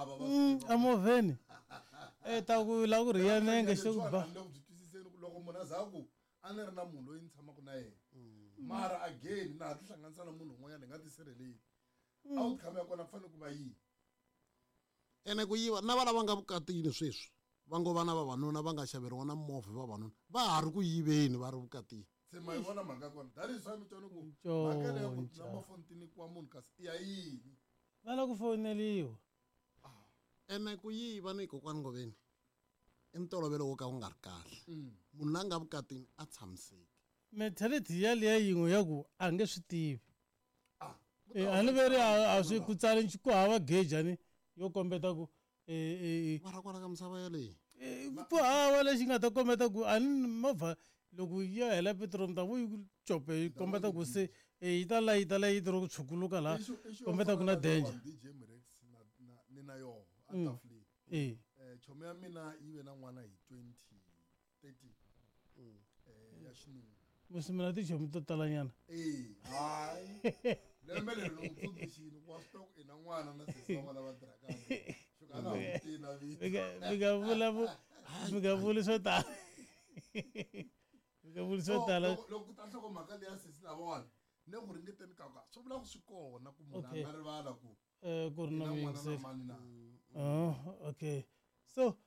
lava va swi tiva. Emovheni e ta ku la ku rhiya nenge xi ku ba. Ni le ku byi twisiseni ku loko munhu a za ku a ni ri na munhu loyi ni tshamaka na yena, mara again na ha tihlanganisa na munhu un'wanyana hi nga tisirheleli, outcome ya kona ku fanele ku va yihi? Ene ku yiva na va lava nga vukatini sweswi va ngo vana vavanuna va nga xaveriwa na movha, vavanuna va ha ri ku yiveni va ri vukatini. Se ma yi vona mhaka ya kona, that is why mi twa ni ku mhaka leya ku number phone ti nyikiwa munhu kasi i ya yini? Va lava ku foneliwa. Ene ku yiva ni kokwani Ngoveni i ntolovelo wo ka wu nga ri kahle. Munhu la nga vukatini a tshamiseki. Mentality yaliya yin'we ya ku a nge swi tivi. A ni veri a swi ku tsali ku hava gejani yo kombeta ku Mara kwala ka misava yaleyi. Ku hava lexi nga ta kombeta ku a ni movha loko ya hela petiroli mi ta vu yi ku cope yi kombeta ku se yi ta layita layiti ro ku tshukuluka laha kombeta ku na danger. DJ Mrex na na ni na yoho a tafuleni. Chomi ya mina yi ve na n'wana hi 2013. Ya xinuna. Musi mina tichomi to talanyana. Hayi. Lembe leri ni n'wi tsundzuxile ku wa swi tiva ku i na n'wana na sesi wa n'wana va tirhaka. Xo ka a nga ha n'wi tivi na vito. Mi nga vula mi nga vuli swo tala. Mi nga vuli swo tala. Loko ku ta nhlokomhaka leya sesi lavawani, ni ku ringeteni ka ku swi vula ku swi kona ku munhu a nga rivala ku Ku ri na i na n'wana na muyingiseri. mani na. Oh, okay. So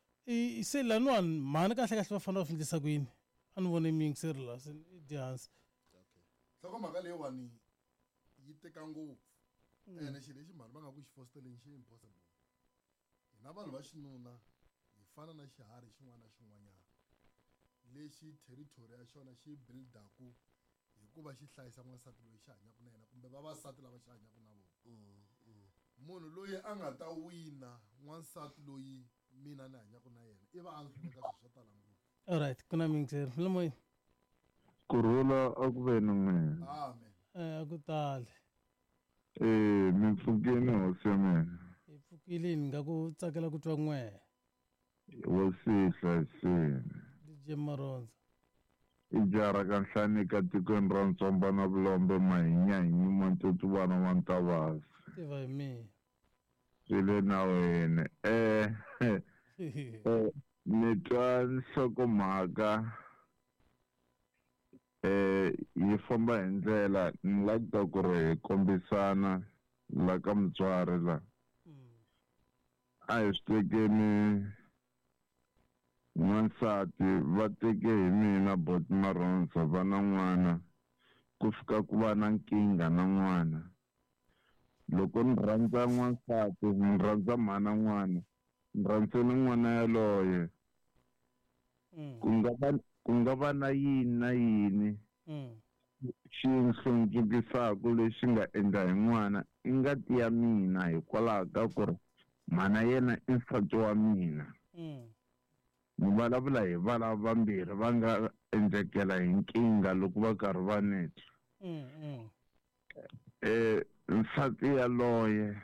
se laniwani mhani kahle kahle va fanele va swi endlisa ku yini? A ni vone muyingiseri laha se i dye hansi. Okay. Nhlokomhaka leyiwani yi teka ngopfu. Ene xilo lexi mhani va nga ku xi fosteleni xi impossible. Hina vanhu va xinuna hi fana na xiharhi xin'wana na xin'wanyana lexi territory ya xona xi buildaku hikuva xi hlayisa n'wansati loyi xi hanyaka na yena kumbe vavasati lava xi hanyaka na vona. Munhu loyi a nga ta wina n'wansati loyi mina ni hanyaka na yena i va a ndzi hluleka swilo swo tala ngopfu. All right, ku na muyingiseri. Mula moyeni. Kurhula a ku ve ni n'wina. Amen. A ku tali. Mi pfukile hosi ya mina. Hi pfukile, ni nga ku tsakela ku twa n'wehe. Hosi yi hlayisile. DJ Maronza. I jara ka Nhlanika tikweni ra Ntsomba na Vulombe Mahinyahinyuma Ntutuvana wa Ntavasi. Tiva hi mina. Swi le nawini. Ni twa nhlokomhaka yi famba hi ndlela ni la ku ta ku ri hi kombisana la ka mutswari la. A hi swi tekeni n'wansati va teke hi mina Bot Maronza va na n'wana ku fika ku va na nkingha na n'wana. Loko ni rhandza n'wansati ni rhandza mhana n'wana ni rhandze ni n'wana yaloye. Ku nga va na yini na yini xi hlundzukisaka lexi nga endla hi n'wana i ngati ya mina hikwalaho ka ku ri mhana yena i nsati wa mina. Ni vulavula hi valava vambirhi va nga endlekela hi nkingha loko va karhi va ni twa. Nsati yaloye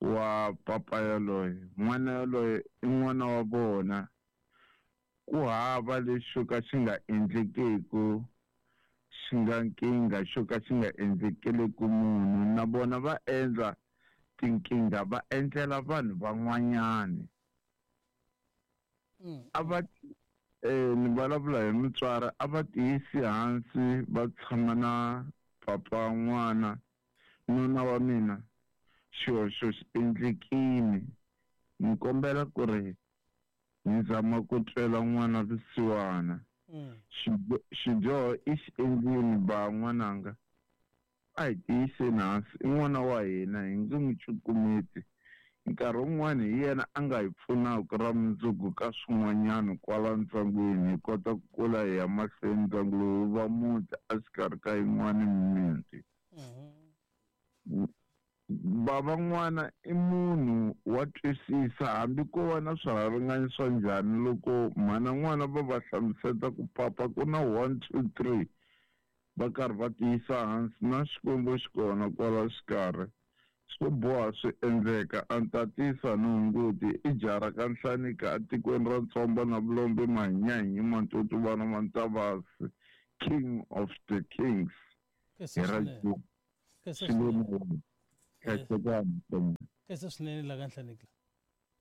wa papa yaloye, n'wana yaloye i n'wana wa vona. Ku hava lexi xo ka xi nga endlekeku, xi nga nkingha xo ka xi nga endlekeleku munhu. Na vona va endla tinkingha va endlela vanhu van'wanyani. A va ni vulavula hi mutswari, a va tiyisi hansi va tshama na papa n'wana nuna wa mina xihoxo xi endlekile. Ni kombela ku ri ni zama ku twela n'wana vusiwana. Xidyoho i xi endlile ba n'wananga. A hi tiyiseni hansi, i n'wana wa hina, hi nge n'wi cukumeti. Nkarhi wun'wani hi yena a nga hi pfunaka ra mundzuku ka swin'wanyana kwala ndyangwini, hi kota ku kula hi ya mahlweni ndyangu lowu wu va muti exikarhi ka yin'wana mimiti. Bava n'wana i munhu wa twisisa hambi ko va na swirhalanganyi swa njhani loko mhana n'wana va va hlamuseta ku papa ku na 1 2 3 va karhi va tiyisa hansi na Xikwembu xi kona kwala xikarhi swo boha swi endleka. A ni tatisa ni hunguti i jara ka Nhlanika etikweni ra Ntsomba na Vulombe Mahinyahinyuma Ntutuvana wa Ntavasi, King of the Kings. Kesa Hi ra swinene. June. Kesa Swi le swinene. nawini. Hlayisekani, Ntsomba. Khensa swinene la ka Nhlaneki la.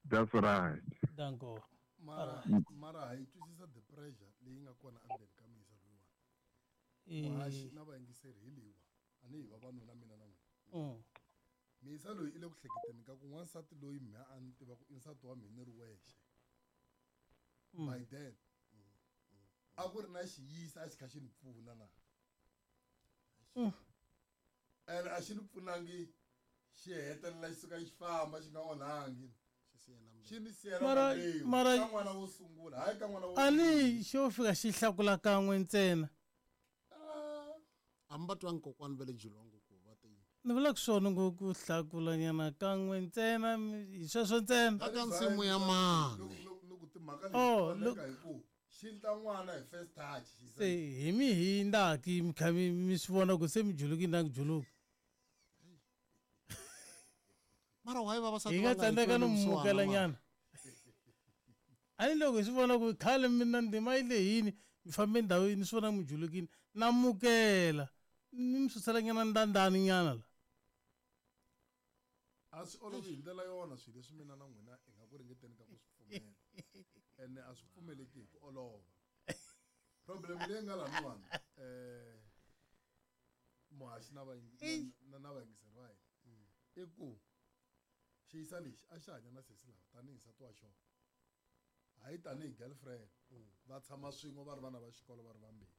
That's right. Danko. Mara mara ha yi twisisa the pressure leyi nga kona endzeni ka muyisa loyiwani. Muhaxi na vayingiseri hi leyiwa a ni hi vavanuna mina na n'wina. Muyisa loyi i le ku hleketeni ka ku n'wansati loyi mhe a ni tiva ku i nsati wa mina ni ri wexe. By then a ku ri na xiyisa a xi kha xi ni pfuna na. Ene a xi ni pfunangi xi hetelela xi suka xi famba xi nga onhangi. Xi ni siyela Mara- mbewu mara- ka n'wana wo sungula hayi ka n'wana wo A ni xo fika xi hlakula kan'we ntsena. A mi va twangi kokwani va le Jilongo ku va te yini? Ni vulaka swona ngo ku hlakulanyana kan'we ntsena hi sweswo ntsena. Aka nsimu ya mani. Loko timhaka leti Oh, onheka look. hi ku xi ndla n'wana hi first touch xi Se hi mi hindaki mi kha mi mi swi vona ku se mi julukini na ku juluka. Mara why vavasati Hi va nga nga hi tsandzeka no tweli vusiwana mukela mara? nyana. A ni loko hi swi vona ku khale mina ndima yi lehini mi fambe ndhawini swi vona mi julukini na mukela ni mi susela nyana ndandani nyana la. A swi olovi hi ndlela yona swilo leswi mina na n'wina hi nga ku ringeteni ka ku swi pfumela ene a swi pfumeleki hi ku olova. Problem leyi nga laniwani muhaxi na na na vayingiseri va hina i ku xiyisa lexi a xi hanya na sesi lava tanihi nsati wa xona hayi tanihi girlfriend va tshama swin'we va ri vana va xikolo va ri vambirhi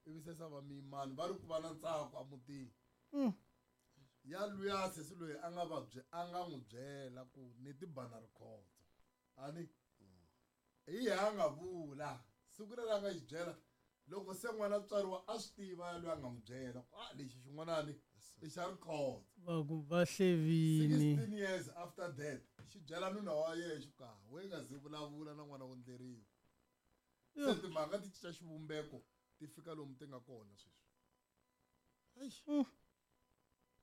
ivi se sa va miyimani va ri ku va na ntsako emutini ya luya sesi loyi a nga vabye a nga n'wi byela ku ni tibana rikhotso a ni hi yena a nga vula siku leri a nga xi byela loko se n'wana tswariwa a swi tiva loyi a nga n'wi byela ku a lexi xin'wanani i xa rikhotso. Va ku va hlevini. 16 years after that xi byela nuna wa yena xi ku ha we nga zi vulavula na n'wana wo ndleriwa. Se timhaka ti cinca xivumbeko ti fika lomu ti nga kona sweswi.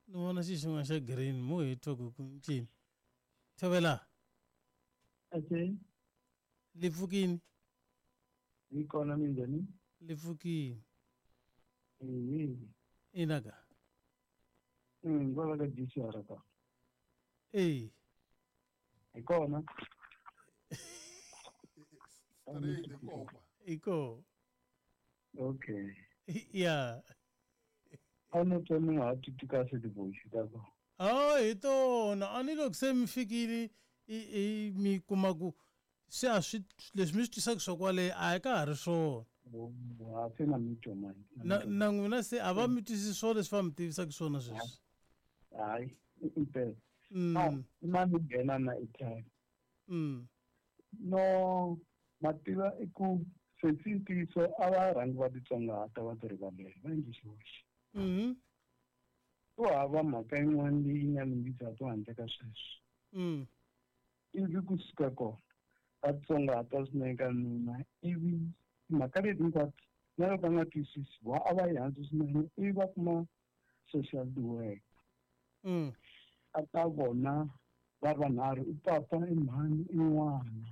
Ni vona xi xin'wana xa green mo hi twa ku ku ncini. Thovela. Okay. Le pfukini. Hi kona minjhani? Le pfukini. Ehe. Ina ka. Kwala ka GCR ka. Eh. Hi kona. Straight hi kokwa. Hi kona. Okay. Ya. A ni twa ni nga ha titwi kahle ti-voice ta kona. Ah, hi tona a ni loko se mi fikile i mi kuma ku se a swi leswi mi swi twisaka swa kwale a hi ka ha ri swona. Ha se na mi twa mani. Na na n'wina se a va mi twisisi swona leswi va mi tivisaka swona sweswi. Hayi, impela. Na mi nghena na airtime. No, mativa i ku sesi ntiyiso a va rhangi va titsongahata va ti rivalela va endli xihoxo. Ku hava mhaka yin'wana leyi nga lunghisaka handle ka sweswo. Ivi kusuka kona va titsongahata swinene ka nuna ivi timhaka leti hinkwato na loko va nga twisisi va a va yi hansi swinene ivi va kuma social work. A ta vona va ri vanharhu i papa i mhani i n'wana.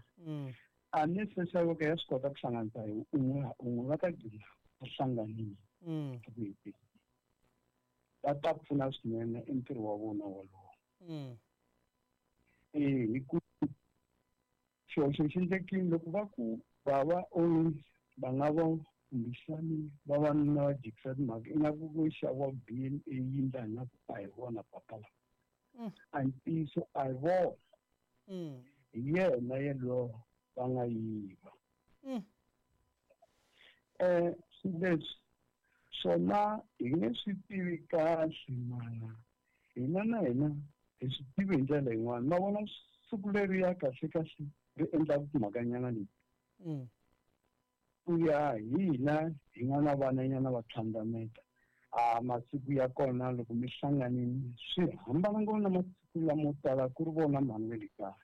A ni social worker ya swi kota ku hlanganisa hi un'we ha un'we va ta gcina va hlanganile eku heteleleni. Va ta pfuna swinene i ntirho wa vona wolowo. Hi ku xihoxo xi endlekile loko va ku bava only va nga va kumbexani vavanuna va jikisa timhaka ingaku ku xaviwa B_N_A yi ndla ingaku a hi vona papa lava. A ntiyiso a hi vona. Hi yena yalowo va nga yiva. Swilo leswi swona hi nge swi tivi kahle mara hina na hina hi swi tivi hi ndlela yin'wana. Ma vona siku leriya kahle kahle ri endlaka timhakanyana leti. Ku ya hi hina hi nga na vananyana va tlhandlameta a masiku ya kona loko mi hlanganile swi hambana ngopfu na masiku lamo tala ku ri vona mhani ve le kaya.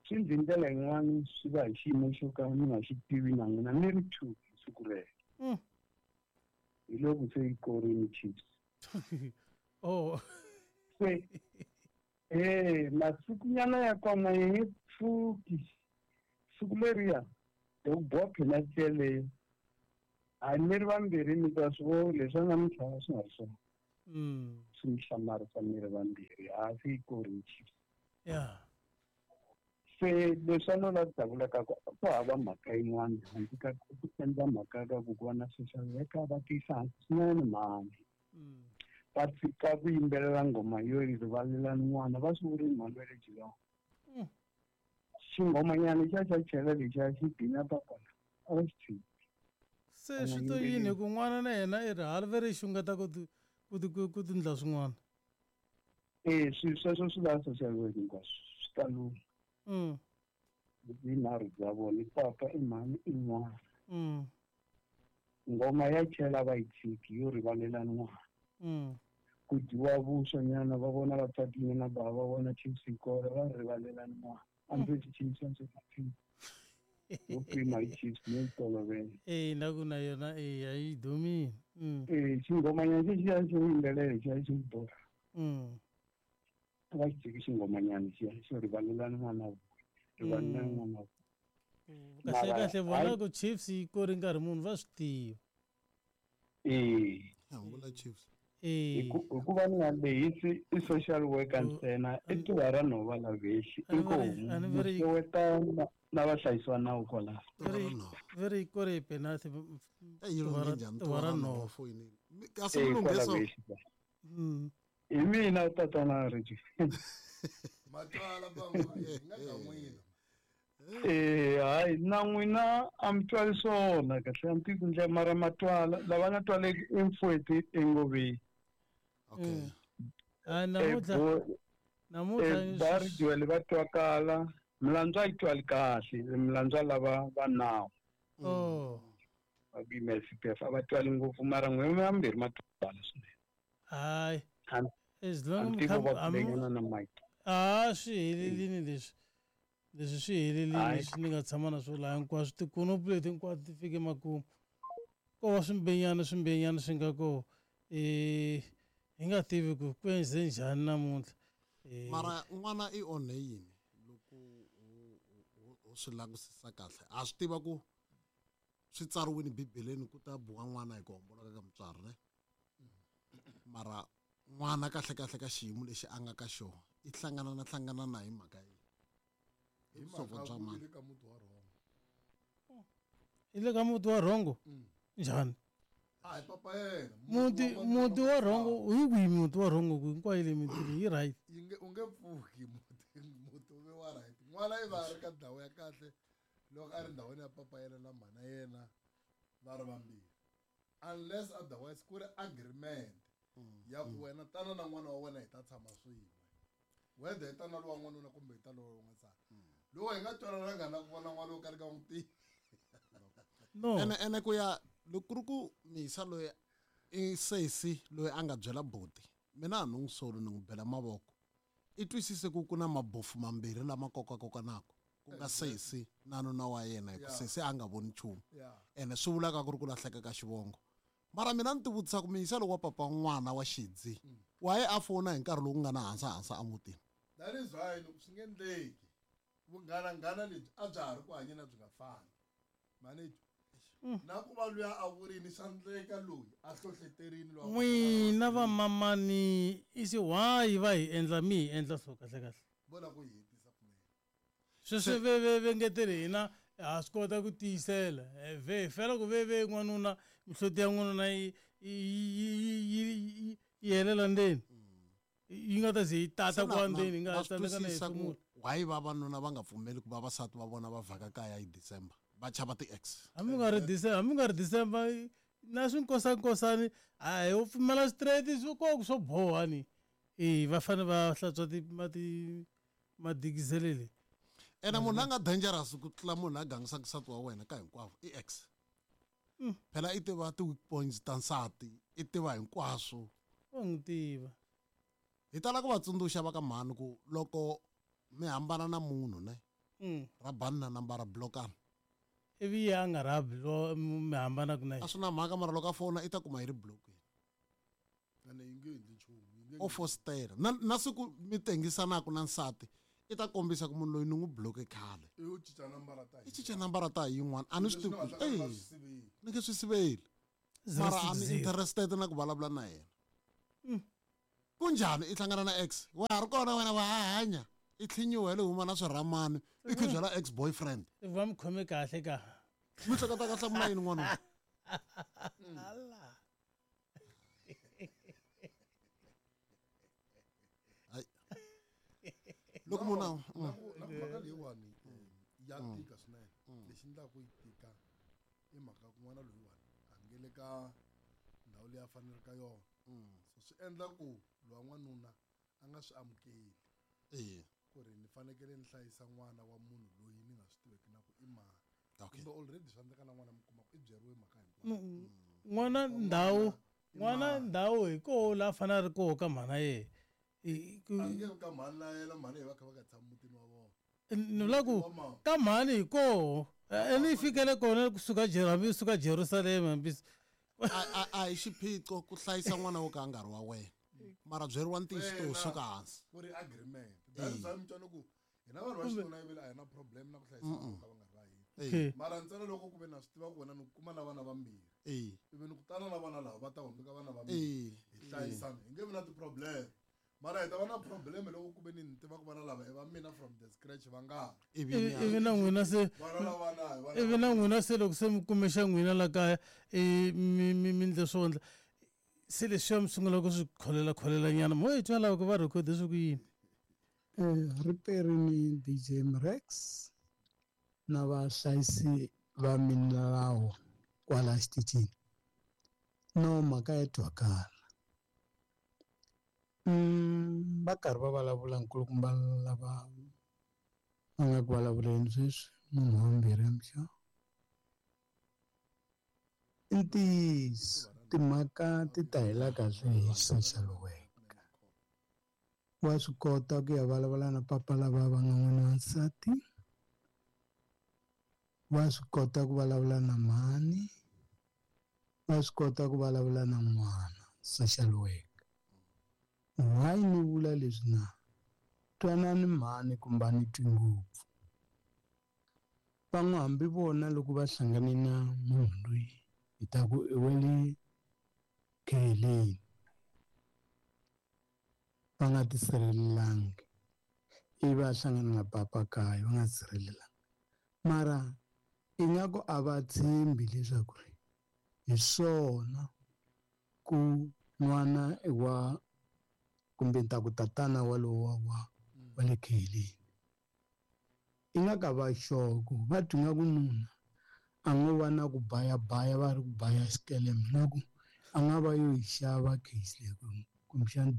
Swi ndzi ndlela yin'wani swi va hi xiyimo xo ka mi nga xi tivi na n'wina mi ri two hi siku rero. Hi loko se yi korini Chiefs. Oh. Se masikunyana ya kona yi nge pfuki. Siku leriya loko boha penalty yeleyo a mi ri vambirhi mi ta swi vona leswi a nga mi tlhava swi nga ri swona. swi mi hlamarisa mi ri vambirhi hasi yi korini Chiefs. Ya. Se leswi a no la ku ta vula ka ku ku hava mhaka yin'wana handle ka ku endla mhaka ka ku ku va na social worker va tiyisa hansi swinene mhani. Va tshika ku yimbelela nghoma yo yi rivalelani n'wana va swi vurini mhani va le Geelong. Xinghomanyana lexiya xa chela lexiya xi bina papala a va xi tshiki. Se swi to yini hi ku n'wana na yena i ri hali ve ri xungeta ku ti ku ti ku tindla swin'wana. Ee swilo sweswo swi lava social work hinkwaswo swi ta lungha. Vinharhu bya vona i papa i mhani i n'wana. Nghoma ya chela va yi tshiki yo rivalelani n'wana. Ku dyiwa vuswa nyana va vona va tsakile na bava va vona Chiefs yi kora va rivalelani n'wana. A ndzi se Chiefs a ndzi se Chiefs. Yo pima hi Chiefs no yi tolovela. Ee na ku na yona ee a yi dumile. Ee xinghomanyana xexiya xo yimbelela lexiya xo borha. A va xi tshiki xinghomanyana lexiya xo rivalelani n'wana wa rivalelani n'wana wa. Kahle kahle vona ku Chiefs yi kore nkarhi muni va swi tiva. Ee. Vula Chiefs. Ee. Hikuva ni nga lehisi i social worker ntsena i tuva ra nhova la vexi inkomu xeweta na vahlayisiwa nawu kwalaho. Ve ri yi kore hi penalty tuva ra nhova. Kasi mi kwala lunghe so. vexi. Hi mina tatana Reggie. Matwala van'wana hi nga ka n'wina. Eh hayi na n'wina a mi twali swona kahle a mi tivi ku ndlela mara matwala lava nga twaleki i mfweti engoveni. Okay. Hayi namuntlha namuntlha Bari Joel va twakala milandzu a yi twali kahle milandzu lava va nawu. Oh. Va ku yimela CPF a va twali ngopfu mara n'wina vambirhi ma twala swinene. Hayi. As A long ni tivi va mi kulenyana na Mike. a swi helelini leswi. Leswi swi helelini Hayi. leswi ni nga tshama na swo laha hinkwaswo tikonopu leti hinkwato ti fike makumu. Ko va swimbenyana swimbenyana swi nga koho. Hi nga tivi ku ku endze njhani namuntlha. Mara n'wana i onhe yini loko u swi langusisa kahle? A swi tiva ku swi tsariwile Bibeleni ku ta biwa n'wana hi ku homboloka ka mutswari ne? Mara n'wana kahle kahle ka xiyimo lexi a nga ka xona i hlangana na hlangana na hi mhaka yini? Hi Vusopfa mhaka bya ku mani? i le ka muti wa rhongo. I le ka muti wa rhongo? Njhani? A hi papa yena. Muti muti wa rhongo hi kwihi muti wa rhongo ku hinkwayo le miti leyi yi right. Yi nge u nge pfuki muti muti wu ve wa right. N'wana i va a ri ka ndhawu ya kahle loko a ri ndhawini ya papa yena na mhana yena va ri vambirhi. Unless otherwise ku ri agreement ya ku wena tana na n'wana wa wena hi ta tshama swin'we. Whether hi ta na lowa n'wanuna kumbe hi ta lowa n'wansati. Loko hi nga twanananga na ku vona n'wana wo karhi ka n'wi tivi. No. Ene ene ku ya loko ku ri ku misa loyi i sesi loyi a nga byela buti mina a ni n'wi soli ni n'wi bela mavoko. I twisise ku ku na mabofu mambirhi lama kokakokanaka ku nga sesi na nuna wa yena hi ku sesi a nga voni nchumu. Ene swi vulaka ku ri ku lahleka ka xivongo. Mara mina ni ti vutisa ku miyisa loko wa papa n'wana wa xidzi wa ye a fona hi nkarhi lowu ku nga na hansahansa emutini. That is why loko swi nge endleki vunghananghana lebyi a bya ha ri ku hanyeni a byi nga fani. Manager. Na ku va luya a vurini swa endleka loyi a hlohleterini loyi a N'wina vamamani i xi why va hi endla mi hi endla so kahle kahle. Vona ku hi hetisa kunene. Sweswi ve ve ve ngetele hina ha swi kota ku tiyisela. Ve hi fela ku ve ve n'wanuna mihloti ya n'wanuna yi yi yi helela ndzeni. Yi nga ta ze yi tata kwa ndzeni yi nga Na swi tsandzeka na twisisa ku hefemula. why vavanuna va nga pfumeli ku vavasati va vona va vhaka kaya hi December va chava ti-ex. Hambi ku nga ri December, hambi ku nga ri December na swinkosankosani a hi wo pfumela straight swi koko swo boha ni. Va fanele va hlantswa ti mati madikizele le. Ene munhu la nga dangerous ku tlula munhu la gangisaka nsati wa wena ka hinkwavo i ex. Phela i tiva ti-weak points ta nsati, i tiva hinkwaswo. Wa n'wi tiva. Hi tala ku va tsundzuxa va ka mhani ku loko mi hambana na munhu ne, rabani na nambara blokani. Ivi ye a nga rabi lo mi hambanaka na yena. A swi na mhaka mara loko a fona i ta kuma yi ri blokini. Ene yi nge endli nchumu, yi nge O fositela. Na na siku mi tengisanaku na nsati i ta kombisa ku munhu loyi ni n'wi bloke khale. I u cinca nambara ta I cinca nambara ta yin'wana a ni swi Leswi tivi ni ku nga ta ka eh swi siveli. ni nge swi siveli. Zero Mara a six ni zero. interested na ku vulavula na yena. Kunjhani i hlangana na ex? Wa ha ri kona wena wa ha hanya. I tlhinyiwe le huma na swirhamani. I khe byela ex boyfriend. Va mi khome kahle ka. Mi hleketa ka hlamula yini n'wana? Allah. Hayi. Loko munhu na mhaka leyiwani ya tika swinene. Lexi endlaka yi tika i mhaka ku n'wana loyiwani a nge le ka ndhawu leyi a faneleke ka yona. So swi endla ku lowa n'wanuna a nga swi amukeli. Ku ri ni fanekele ni hlayisa n'wana wa munhu loyi ni nga swi tiveki na ku i mani. Kumbe already swi endleka na n'wana mi kuma ku i byeriwe mhaka hinkwayo. N'wana ndhawu, n'wana ndhawu hi koho laha fanele a ri koho ka mhana yena. A nge ka mhani na yena, mhani va kha va nga tshami mutini wa vona. Ni vula ku ka mhani hi koho. Ene yi fikele kona kusuka hambi suka Jerusalema hambi A hi xiphiqo ku hlayisa n'wana wo ka a nga ri wa wena. Mara byeriwa ntiyiso to suka hansi. Ku ri agreement. That's why mi twa ku hina vanhu va xinuna ivile a hi na problem na ku hlayisa n'wana ka va nga ri va hina. Mara ntsena loko ku ve na swi tiva ku wena ni kuma na vana vambirhi. Ivi ni ku tana na vana lava va ta hundzuka vana vambirhi. Hi hlayisana. Hi nge vi na ti-problem. Mara hi ta va na problem loko ku ve ni tiva ku vana lava i va mina from the scratch va nga. Ivi na n'wina se vana lava na hi vana. Ivi na n'wina se loko se mi kume xa n'wina la kaya mi mi ndle swo ndla. Se leswiya mi sungula ku swi kholela kholela nyana mo hi twa lava ku va record swi ku yini. Riperi ni DJ Mrex na vahlayisi va milawu kwala xitichini. No mhaka ya twakala. Va karhi va vulavula nkulukumba lava va nga ku vulavuleni sweswi munhu wa vumbirhi amxa. I ntiyiso timhaka ti ta hela kahle hi social worker. Wa swi kota ku ya vulavula na papa lava va nga n'wina wa nsati. Wa swi kota ku vulavula na mhani. Wa swi kota ku vulavula na n'wana social worker. Why ni vula leswi na? Twanani mhani kumbe a ni twi ngopfu. Van'we hambi vona loko va hlangane na munhu loyi hi ta ku i wa le kheleni. Va nga tisirhelelangi. Ivi a hlangana na papa kaya va nga tisirhelelangi. Mara ingaku a va tshembi leswaku hi swona ku n'wana i wa kumbe ni ta ku tatana walowo wa le kheleni. Ingaku a va sure ku va twi nga ku nuna a ngo va na ku bayabaya va ri ku baya xikeleme na ku a nga va yo yi xava case leyi kumbexana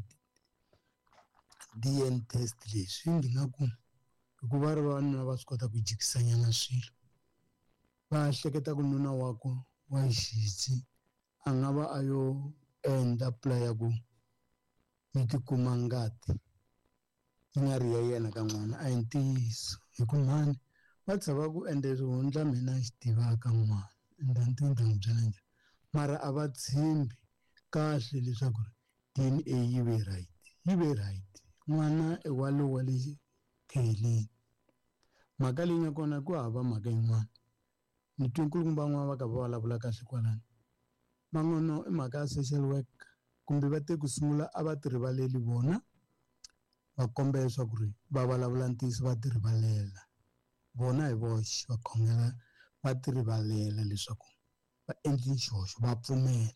DNA test leswi ndzi nga ku hikuva ri vavanuna va swi kota ku jikisanyana swilo. Va hleketa ku nuna wakwe wa xidzi a nga va a yo endla plan ya ku yi tikuma ngati yi nga ri ya yena ka n'wana. A hi ntiyiso hi ku mhani va tshava ku endla swihundla mina xi tivaka n'wana ende a ni tivi ni ta n'wi byela njhani. Mara a va tshembi kahle leswaku DNA yi ve right, yi ve right. N'wana i wa lowa le kheleni. Mhaka leyi nga kona ku hava mhaka yin'wana. Ni twe nkulukumba van'wana va karhi va vulavula kahle kwalano. Van'wana i mhaka ya social work kumbe va te ku sungula a va ti rivaleli vona va komba leswaku ri va vulavula ntiyiso va ti rivalela. Vona hi voxe va khongela va ti rivalela leswaku va endle xihoxo va pfumela.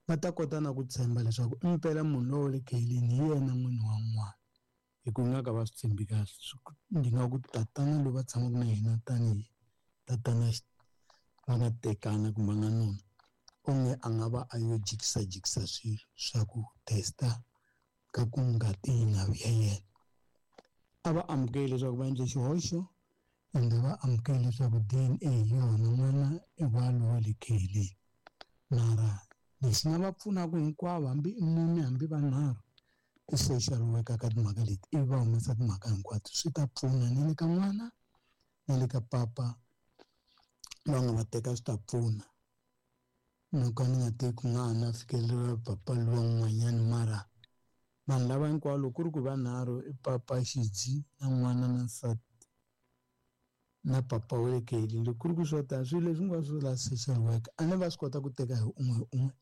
Va ta kota na ku tshemba leswaku impela munhu loyi wa le kheleni hi yena n'wini wa n'wana. Hi ku nga ka va swi tshembi kahle. Ndzi nga ku tatana loyi va tshamaka na yena tanihi tatana va nga tekana kumbe va nga nuna onge a nga va a yo jikisa jikisa swilo swa ku testa ka ku ngati yi nga vi ya yena. A va amukeli leswaku va endle xihoxo ende va amukeli leswaku DNA hi yona n'wana i wa lowa le kheleni. Mara lexi nga va pfunaka hinkwavo hambi i mune hambi vanharhu i social worker ka timhaka leti ivi va humesa timhaka hinkwato swi ta pfuna ni le ka n'wana na le ka papa va nga va teka swi ta pfuna. No ka ni nga teki ku nga ha na fikeleriwa papa luwa n'wanyana mara vanhu lava hinkwavo loko ku ri ku vanharhu i papa xidzi na n'wana na nsati na papa wa le kheleni. Loko ku ri ku swo tala swilo leswi hinkwaswo la social worker a ni va swi kota ku teka hi un'we hi un'we.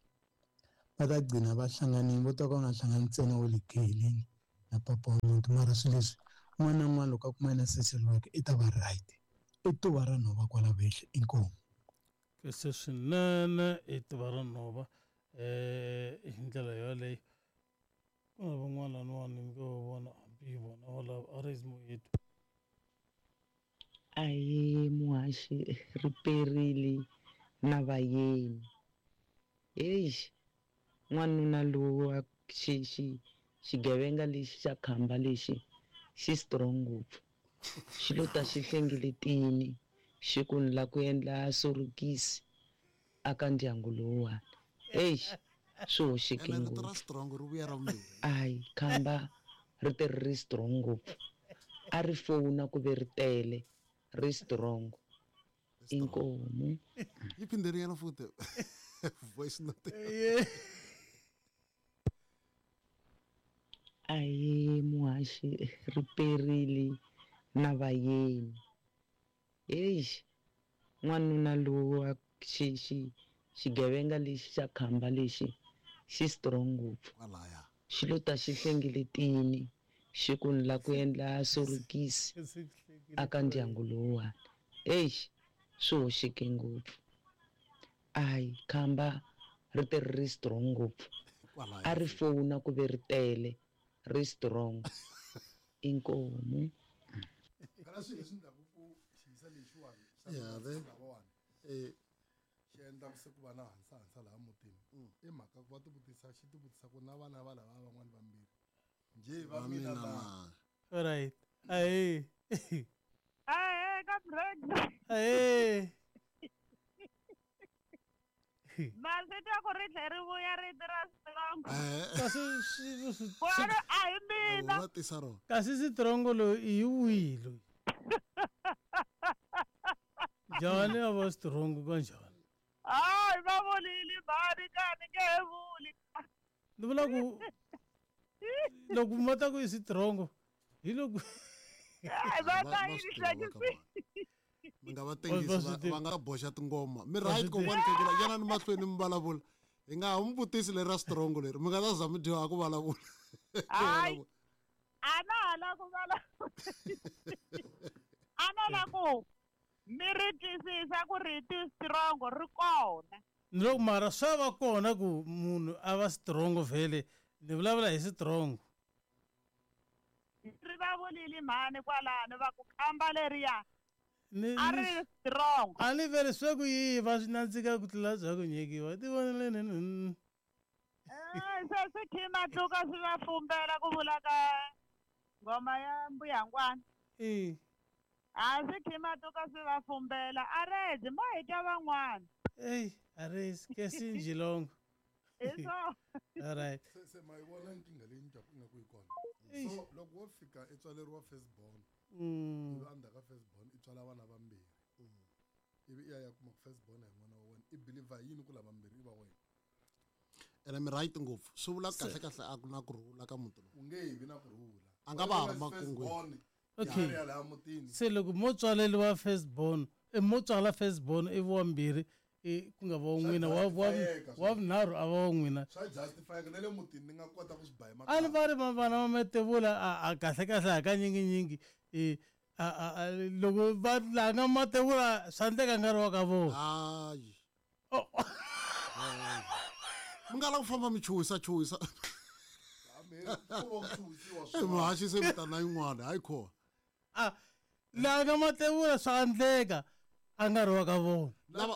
Va ta gcina va hlanganile, vo ta ka va nga hlangani ntsena wa le ku heleni na papa wa muti. Mara swilo leswi un'wana na un'wana loko a kumana na social worker i ta va right. I tuva ra nhova kwala vehla inkomu. Kahle swinene i tuva ra nhova um hi ndlela yoleyo. Ku na van'wana laniwani ni ngo vona hambi hi vona valava a raise moyeni. Ahee muhaxi ri perile na vayeni. Heyi n'wanuna lowu wa xi xi xigevenga lexi xa khamba lexi xi strong ngopfu. Xi lo ta xi hlengeletini xi ku ni la ku endla sorokisi aka ndyangu lowuwani. Heyi swi hoxeke Ene rito ra ngopfu. strong ri vuya ra vumbirhi. Ayi khamba ri te ri ri strong ngopfu. A ri fona ku ve ri tele ri strong. Inkomu. Yi phinderinyana futhi voice note. Ahee muhaxi ri perile na vayeni. Heyi n'wanuna lowu wa xi xi xigevenga lexi xa khamba lexi xi strong ngopfu. Xi lo ta xi hlengeletini xi ku ni la ku endla sorokisi aka ndyangu lowuwani. Heyi swi hoxeke ngopfu. Ayi khamba ri te ri ri strong ngopfu. A ri fona ku ve ri tele ri strong. Inkomu. Phela swilo leswi endlaku ku xiyisa lexiwani xa Ya, ve. lavawani xi endla ku se ku va na hansahansa laha mutini i mhaka ku va tivutisa xi tivutisa ku na vana va lava van'wani vambirhi njhe va Va mina mina na na. Alright. Ahee. Ahee ka break. Ahee. Masi twa ku ri tlhe ri vuya rito ra strong. Kasi swi swi Kwalo a hi mina. Va tisa rona. kasi sitrongo loyi i hi wihi loyi? Njhani a va strong kanjhani? Hayi va vulile mhani ka ni nge he vuli. Ni vula ku loko ma ta ku i sitrongo hi loko Hayi va ta Va yi swi tiva va ka hlekisi. Mi nga va Va tengisi swi tiva. va nga boxa tingoma. Mi Va right swi kokwani Khegula yana ni mahlweni mi vulavula. Hi nga ha mi vutisi leri ra strong leri mi nga ta za mi dyoha ku vulavula. Hayi a na ha la ku vulavula. A no la ku mi ri twisisa ku rito strong ri kona. Ni loko mara swa va kona ku munhu a va strong vhele ni vulavula hi strong. Ri va vulile mhani kwalano va ku khamba leriya Ni a ri strong. a ni vele swa ku yiva swi nandzika ku tlula bya ku nyikiwa tivoneleni ni Eh, se swi khima tluka swi va fumbela ku vula ka ngoma ya mbuyangwana. Eh. A swi khima tluka swi va fumbela a redzi mo hi twa van'wana. Ey, a ri ke sinjilongo. Hi swona. All right. Se se ma yi vona nkingha leyi ni twaku ingaku yi kona Eish. so loko wo fika i tswaleriwa first born ivi endzhaku ka first born i tswala vana vambirhi ivi i ya ya kuma ku first born a hi n'wana wa wena i believer yini ku lavambirhi i va wena Ene mi right ngopfu. Swi vula kahle kahle a ku na ku rhula ka muti lowu. U nge he vi na ku rhula. A nga va ha ri First makungwini. born, Okay. ya laha mutini Se loko mo tswaleriwa first born, mo tswala first born ivi wa mbirhi i ku nga va wa n'wina wa wa justifyeka wa vunharhu a va wa n'wina. swa justifyeka na le mutini ni nga kota ku swi ba hi A ni va ri vana va matevula a kahle kahle hakanyinginyingi i a a a loko va la nga matevula swa endleka nga ri wa ka vona. Hayi. Mi nga la ku famba mi chuhisa chuhisa. Eh, muhaxi se mi ta na yin'wana hayi kona. A la nga matevula swa endleka a nga ri wa ka vona.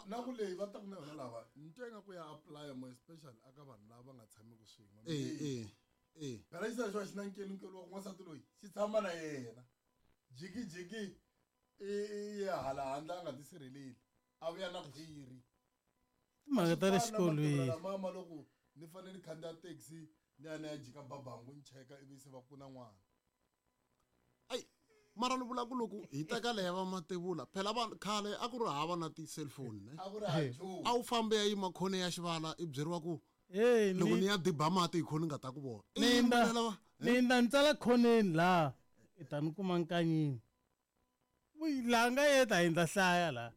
Na ku leyi va taku na yona lava ni twa ingaku ya apply more especially aka vanhu lava nga tshameki swin'we. Eh eh eh. Phela xi xo xi na nkelunkelu wa ku n'wansati loyi xi tshama na yena jikijiki i ya hala handle a nga tisirheleli a vuya na khwiri. Timhaka ta le xikolweni. Mama loko ni fanele ni khandziya taxi ni ya ni ya jika babangu ni cheka ivi se va ku na n'wana. Mara ni vula ku loko hi teka leya va matevula phela vanhu khale a ku ri hava na ti-cellphone ne. A ku ri hava nchumu. A wu fambe ya yima khone ya xivala i byeriwa ku Hey, loko ni ni ya diba mati hi khone ni nga ta ku vona. I ni nda yimbelela va- ni nda ni tsala khoneni laha i ta ni kuma nkanyini. Uy, laha nga yeta hi ndza hlaya laha.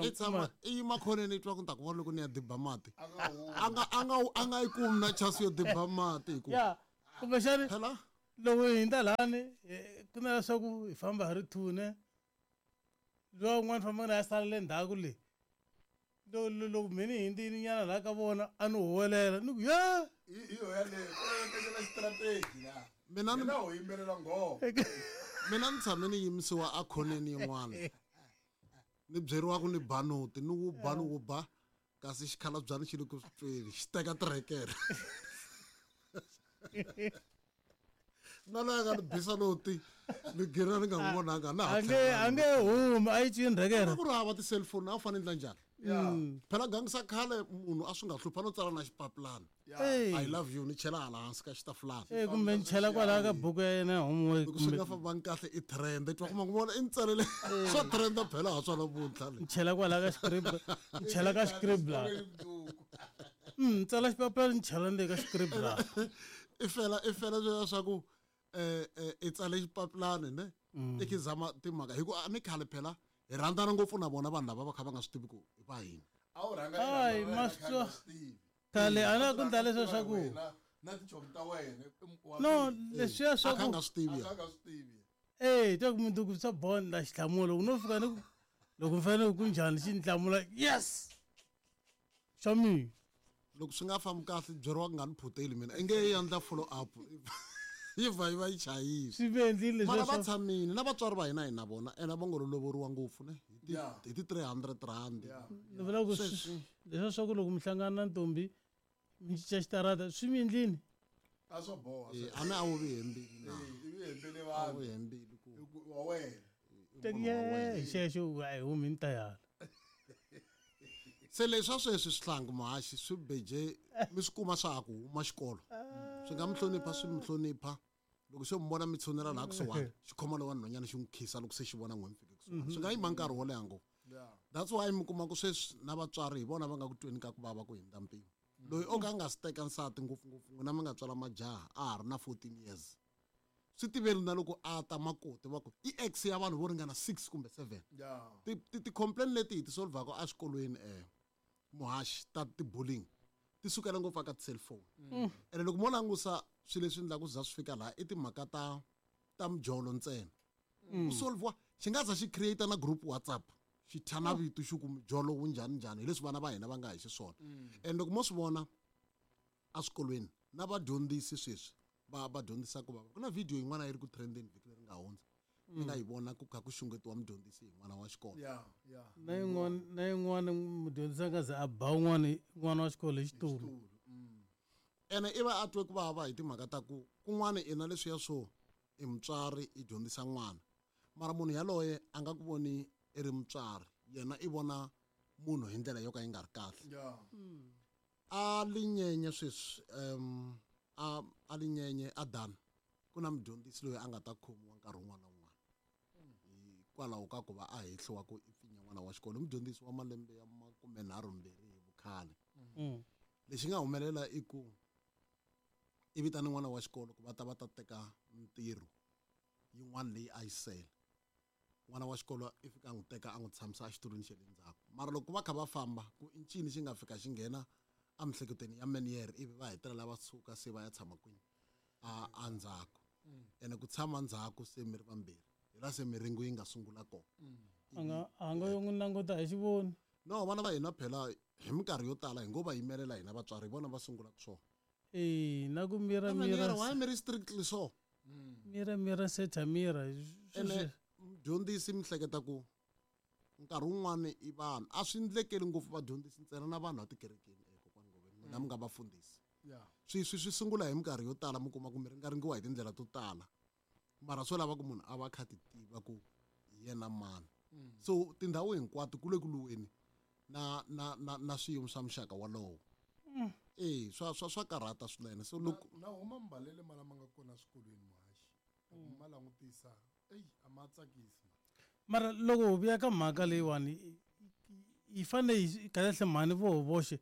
I tshama i yima khoneni i twa ku ni ta ku vona loko ni ya diba mati a nga a nga a nga yi kumi na chance yo diba mati hi ku ya kumbexani phela loko hi hundza lani ku na leswaku hi famba hi ri thune lowa un'wana fambaka na ya sala le ndzhaku le loko mhe ni hindzini nyana laha ka vona a ni huwelela ni ku ye hi yo yaleyo ku tekela strategy la mina ni mina ho yimbelela nghoma mina ni tshame ni yimisiwa a khoneni yin'wana ni byeriwa ku ni ba noti ni wu ba ni wu ba kasi xikhalabyana xi le ku swi tweni xi teka tirekere na loyi a nga ni bisa noti ni gina ni nga n'wi vonanga na ha a nge a nge humi a yi cini rekere ku ri hava ti-cellphone a wu fanele ndla njhani phela gangisa khale munhu a swi nga hluphi a no tsala na xipapilana Hey. I love you ni chela hala hansi ka xitafulana Eh, kumbe ni chela kwalaya ka buku ya yena ya homework loko swi kumbe nga fambangi kahle i trend i twa kuma ku vona i ni tsalele swa trenda phela ha swona vuntlha le ni chela kwalaya ka scribble ni chela ka scribbler tsala xipapilana ni chela ndzeni ka scribbler i fela i fela sweswiya swa ku um i tsale xipapilani ne i khizama timhaka hi ku a ni khale phela hi rhandzana ngopfu na vona vanhu lava va kha va nga swi tivi ku i va hina a wu rhanga Hayi, i rhandza wena ma kha swi twa. nga swi tivi. Khale a na ku Rhanga ndla leswiya tiva swa ku wena na tichomi ta wena wa no mina. leswiya swa a kha ku a nga swi tivi A ya kha nga swi tivi eh twa ku mundzuku swa bond la xihlamula loko no fika ni ku loko ni fanele ku njhani xi ni hlamula yes xa mina loko swi nga fambi kahle byeriwa ku nga ni phuteli mina i nge yi endla follow up yi vha yi va yi chayile swi ve endlile mara leswiya va swa tshamile na vatswari va hina hi na vona ene va ngo lovoriwa ngopfu ne hi ti Yeah. hi ti 300 rand Yeah. ni vula ku leswiya swa ku loko mi hlangana na ntombi mi cinca xitarata swi mi endlini a swo boha Eh, a ni a wu vi hembili na i vi hembele a wu vanhu hembili ku Hi ku wa wena i munhu wa wena. hi xexo a hi humi ni ta yala Se leswi swa sweswi swihlangi muhaxi swi beje mi swi kuma swa ha ku huma xikolo swi nga mi hlonipha swi mi hlonipha loko xo mi vona mi tshunela laha kusuhani xi khoma lowa nhwanyana xi n'wi khisa loko se xi vona n'we mi fike kusuhani swi nga yima nkarhi wo leha ngopfu that's why mi kuma ku sweswi na vatswari hi vona va nga ku tweni ka ku vava ku hundza mpimo loyi o ka a nga si teka nsati ngopfungopfu n'wina mi nga tswala majaha a ha ri na 14 years swi tiveni na loko a ta makoti va ku i ex ya vanhu vo ringana 6 kumbe 7 Yeah. ti-complain leti hi ti solvaka eswikolweni muhaxi ta ti-bullying ti sukela ngopfu aka ti-cellphone ene loko mo langusa swilo leswi endlaku za swi fika laha i timhaka ta ta mijolo ntsena ku solviwa xi nga za xi create na group WhatsApp xi thya na vito xi ku mijolo wu njhani njhani hi leswi vana va hina va nga hi xiswona and loko mo swi vona eswikolweni na vadyondzisi sweswi va va dyondzisaka va ku na video yin'wana yi ri ku trendeni vhiki leri nga hundza ni nga yi vona ku kha ku xungetiwa mudyondzisi hi n'wana wa xikolo Yeah, yeah. na yin'wana na yin'wana mudyondzisi a nga ze a ba un'wana n'wana wa xikolo hi xitulu ene i va a twe ku vava hi timhaka ta ku kun'wana i na leswiya swo i mutswari i dyondzisa n'wana mara munhu yaloye a nga ku voni i ri mutswari yena i vona munhu hi ndlela yo ka yi nga ri kahle Yeah. A linyenye sweswi a a linyenye a dana ku na mudyondzisi loyi a nga ta khomiwa nkarhi wun'wana na wun'wana hikwalaho ka ku va a hehliwa ku i pfinya n'wana wa xikolo i mudyondzisi wa malembe ya makumenharhumbirhi hi vukhale lexi nga humelela i ku i vitane n'wana wa xikolo ku va ta va ta teka mintirho yin'wana leyi a yi sele n'wana wa xikolo i fika a n'wi teka a n'wi tshamisa exitulwini xa le ndzhaku mara loko va kha va famba ku i ncini xi nga fika xi nghena emiehleketweni ya meniere ivi va hetelela va suka se va ya tshama kwini a a ndzhaku ene ku tshama ndzhaku se mi ri vambirhi hi laha se miringo yi nga sungula kona a nga a nga yo n'wi languta hi xivoni no vana va hina phela hi minkarhi yo tala hi ngo va yimelela hina vatswari hi vona va sungulaka swona e na ku mira mira mira why mi ri strictly so mira mira setha mira ene mudyondzisi mi hleketa ku nkarhi wun'wani i vanhu a swi ndlekeli ngopfu vadyondzisi ntsena na vanhu va tikerekeni kokwani Ngoveni n'wina mi nga vafundhisi Yeah. swi swi swi sungula hi minkarhi yo tala mi kuma ku mi ringaringiwa hi tindlela to tala mara swo lava ku munhu a va a kha ti tiva ku hi yena mani so tindhawu hinkwato ku le ku luweni na na na na swiyimo swa muxaka walowo e swa swa swa karhata swinene so loko na huma mbalele ma lama nga kona swikolweni muhaxi loko ma langutisa eyi a ma tsakisi mara loko hi vuya ka mhaka leyiwani yi fanele yi kahlekahle mhani vo voxe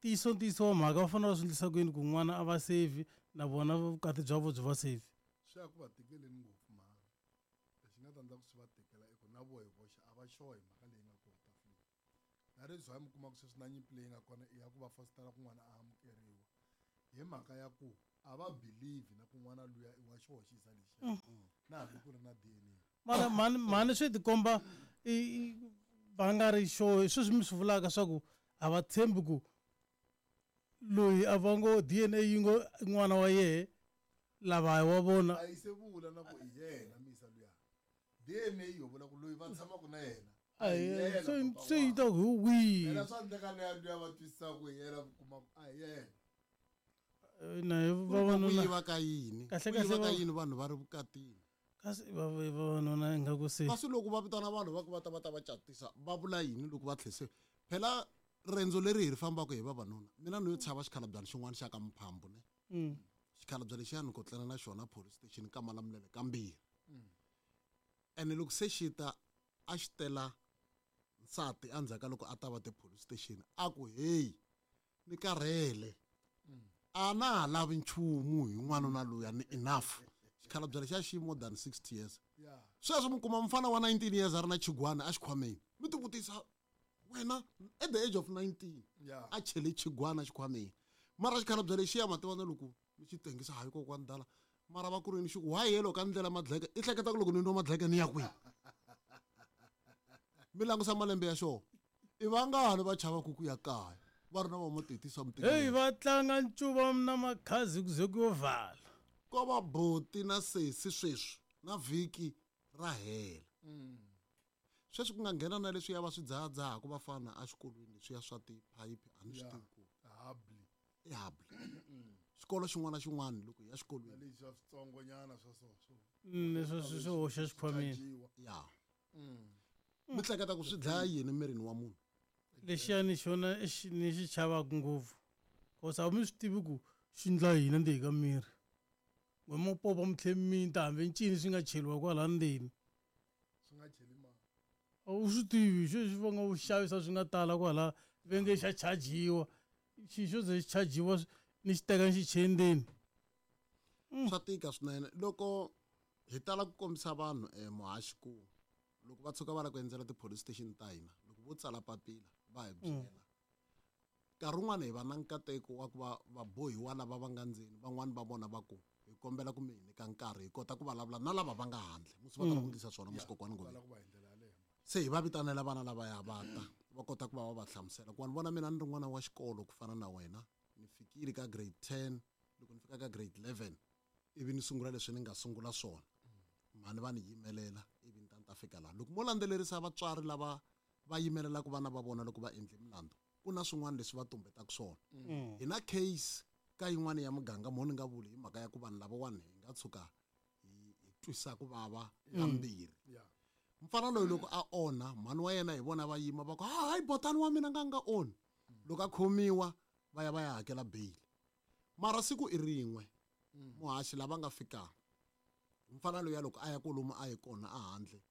ntiyiso ntiyiso wa mhaka va fanele va swi endlisa ku yini ku n'wana a va safe na vona vukati bya vo byi va safe swi ya ku va tikeleni ngopfu mhani lexi nga ta endla ku swi va tikela i ku na vo hi voxe a va sure hi mhaka leyi nga kona tafuleni. That is why mi kuma ku sweswi na nyimpi leyi nga kona i ya ku va fositela ku n'wana a amukeriwa hi mhaka ya ku a va believe na ku n'wana luya i wa xihoxisa lexiya na hambi ku ri na DNA. Mara mhani mhani swi tikomba va nga ri sure sweswi mi swi vulaka swa ku a va tshembi ku loyi a va ngo DNA yi ngo i n'wana wa yehe lava wa vona. A yi se vula na ku i yena misa luya. DNA yo vula ku loyi va tshamaka na yena a hi yena se yi ta ku hi wihi. Phela swa endleka luya luya va twisisa ku hi yena kuma ku a hi yena. Na vavanuna ku yiva ka yini? Kahle Ku yiva kahle ka yini vanhu va ri vukatini? Kasi vavanuna ingaku se kasi loko va vitana vanhu va ku va ta va ta va catisa va vula yini loko va tlhese? Phela rendzo leri hi ri fambaka hi vavanuna, mina ni yo tshava xikhalabyana xin'wana xa ka Mphambu ne. Xikhalabya lexiya ni kotlela na xona police station ka Malamulele kambirhi. Ene loko se xi ta a xi tela nsati endzhaku ka loko a ta va ti-police station a ku heyi ni karhele a na ha lavi nchumu hi n'wanuna luya ni enough. Xikhalabya lexiya xi more than 60 years. Sweswi mi kuma mufana wa 19 years a ri na chigwana exikhwameni, mi tivutisa wena at the age of 19 a chele chigwana xikhwameni, mara xikhalabya lexiya ma tiva na loko mi xi tengisa hayi kokwani dala mara va ku ri ni xi ku why yelo ka ndlela madleke i hleketa ku loko ni nwa madleke ni ya kwihi? Mi langusa malembe ya xona i vangani va chavaku ku ya kaya va ri na va matetisa mitikelo. Heyi va tlanga ncuva na makhazi ku ze ku yo vala. Ko va boti na sesi sweswi na vhiki ra hela. Sweswi ku nga nghena na leswiya va swi dzahadzahaka vafana exikolweni leswiya swa tiphayiphi a ni swi tivi ku habli. I habli. Xikolo xin'wana na xin'wana loko hi ya xikolweni. Leswi swa switsongonyana swa so swo. Leswi swi hoxa xikhwameni. Ya. Mi hleketa ku swi dlaya yini mirini wa munhu? Lexiya ni xona ni xi chavaka ngopfu. Cause a mi swi tivi ku xi ndla yini endzeni ka miri. N'we mo popa mi tlhe mi ta hambi ncini swi nga cheliwa kwala ndzeni. Swi nga cheli mali. A wu swi tivi sweswi va nga wu xavisa swi nga tala kwala ve nge xa chajiwa. Xi xo ze xi chajiwa ni xi teka ni xi chele ndzeni. Swa tika swinene loko hi tala ku kombisa vanhu muhaxi ku loko va tshuka va lava ku endzela ti-police station ta hina loko vo tsala papila va hi byela. Nkarhi wun'wani hi va na nkateko wa ku va vabohiwa lava va nga ndzeni van'wani va vona va ku hi kombela ku mi hi nyika nkarhi hi kota ku vulavula na lava va nga handle musi va tala ku endlisa swona musi kokwani Ngobeni. Se hi va vitanela vana lavaya va ta va kota ku va va va hlamusela ku wa ni vona mina ni ri n'wana wa xikolo ku fana na wena ni fikile ka grade 10 loko ni fika ka grade 11 ivi ni sungula leswi ni nga sungula swona mhani va ni yimelela ivi ni ta ni ta fika laha. Loko mo landzelerisa vatswari lava va yimelelaka vana va vona loko va endle milandzu ku na swin'wana leswi va tumbetaka swona. Hi na case ka yin'wana ya muganga mo ni nga vuli hi mhaka ya ku vanhu lavawani hi nga tshuka hi twisa ku vava kambirhi. Mfana loyi loko a onha mhani wa yena hi vona va yima va ku hayi botani wa mina nga nga onhi. Loko a khomiwa va ya va ya hakela bail. Mara siku i rin'we muhaxi lava nga fika mfana loyi loko a ya kolomu a yi kona a handle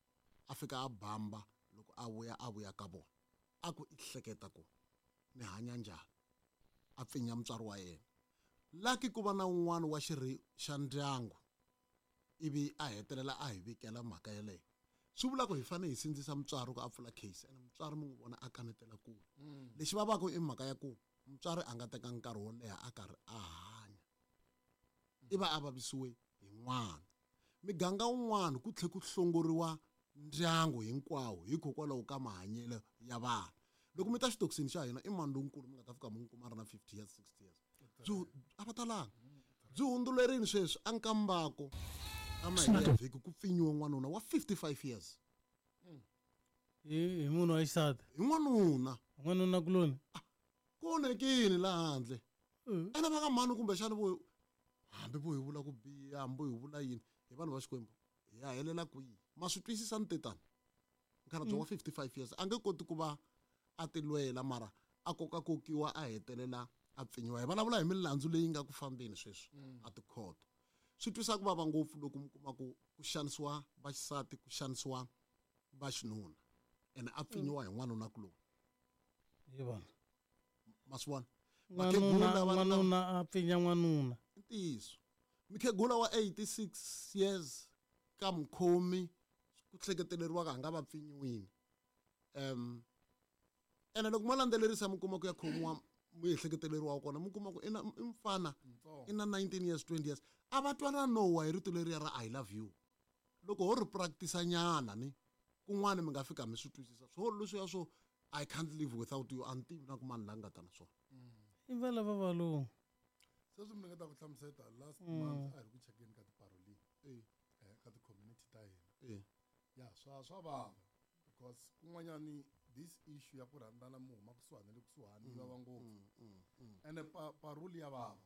a fika a bamba loko a vuya ka vona a ku i hleketa ku ni hanya njhani a pfinya mutswari wa yena. Lucky ku va na un'wana wa xirhi xa ndyangu ivi a hetelela a hi vikela mhaka yeleyo. Swi vula ku hi fanele hi sindzisa mutswari ku a pfula case ene mutswari mi n'wi vona a kanetela kule. Lexi vavaka i mhaka ya ku mutswari a nga teka nkarhi wo leha a karhi a hanya i va a vavisiwe hi n'wana. Miganga wun'wana ku tlhe ku hlongoriwa ndyangu hinkwawo hikokwalaho ka mahanyelo ya vanhu. Loko mi ta xitokisini xa hina i mani lonkulu mi nga ta fika mi n'wi kuma a ri na 50 years 60 years. Byi a va talanga. Byi hundzulerini sweswi a nkambako a mahelo ya vhiki ku pfinyiwa n'wanuna wa 55 years. Hi munhu wa xisati. Hi n'wanuna. N'wanuna kuloni. Ku onhekile laha handle. Ene va ka mhani kumbexana vo hambi vo hi vula ku biha hambi vo hi vula yini hi vanhu va Xikwembu hi ya helela kwihi? Ma swi twisisa ni tetana. Mukhalabye wa 55 years a nge koti ku va a tilwela mara a kokakokiwa a hetelela a pfinyiwa. Hi vulavula hi milandzu leyi nga ku fambeni sweswi a tikhoto. Swi twisa ku vava ngopfu loko mi kuma ku ku xanisiwa vaxisati ku xanisiwa vaxinuna ene a pfinyiwa hi n'wanuna kuloni. Hi vona. Ma swi vona? N'wanuna a pfinya n'wanuna. Ntiyiso. Mukhegula wa 86 years ka mukhomi ku hleketeleriwaka a nga va pfinyiwini. Ene loko mo landzelerisa mi kuma ku ya khomiwa muehleketeleriwa wa kona, mi kuma ku i na i mfana, i na 19 years, 20 years, a va twana nowa hi rito leriya ra "I love you". Loko ho ri practice nyana ni kun'wana, mi nga fika mi swi twisisa swo leswiya swo "I can't live without you". A ni tivi na ku mani la nga ta na swona. I va lava valungu. Sweswi mi ringeta ku hlamuseta, last month a hi ri ku chekeni ka tiparoli ka ti-community ta hina. Ya, swa vava because kun'wanyani this issue ya ku rhandzana mi huma kusuhani na le kusuhani yi vava ngopfu. Ene parole ya vava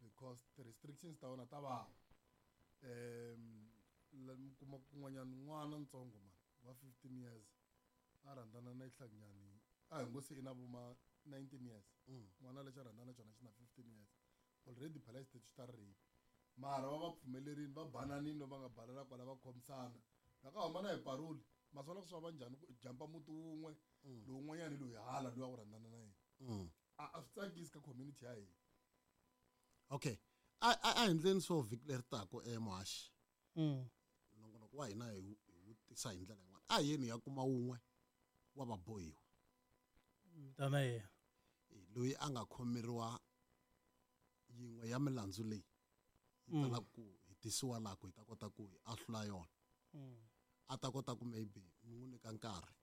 because ti-restrictions ta wona ta vava. Mi kuma kun'wanyani n'wana ntsongo mani wa 15 years a rhandzana na xihlakunyani, a hi ngo se i na vo ma 19 years, n'wana lexi a rhandzana na xona xi na 15 years already. Phela xitetu xi ta ri rape, mara va va pfumelerini, va bananini, va nga banana kwala, va khomisana loko a huma na hi parole. Ma swi vona ku swi va njhani ku jampa muti wun'we, lowun'wanyani loyi hala loyi a ku rhandzana na yena? A swi tsakisi ka community ya hina. Okay, a hi endleni swo vhiki leri taka, muhaxi, nongonoko wa hina hi wu tisa hi ndlela yin'wana. A hi yeni hi ya kuma wun'we wa vabohiwa. Tana yena. Loyi a nga khomeriwa yin'we ya milandzu leyi yi talaka ku hi tisiwa laha, ku hi ta kota ku hi ahlula yona, a ta kota ku maybe mi n'wi nyika nkarhi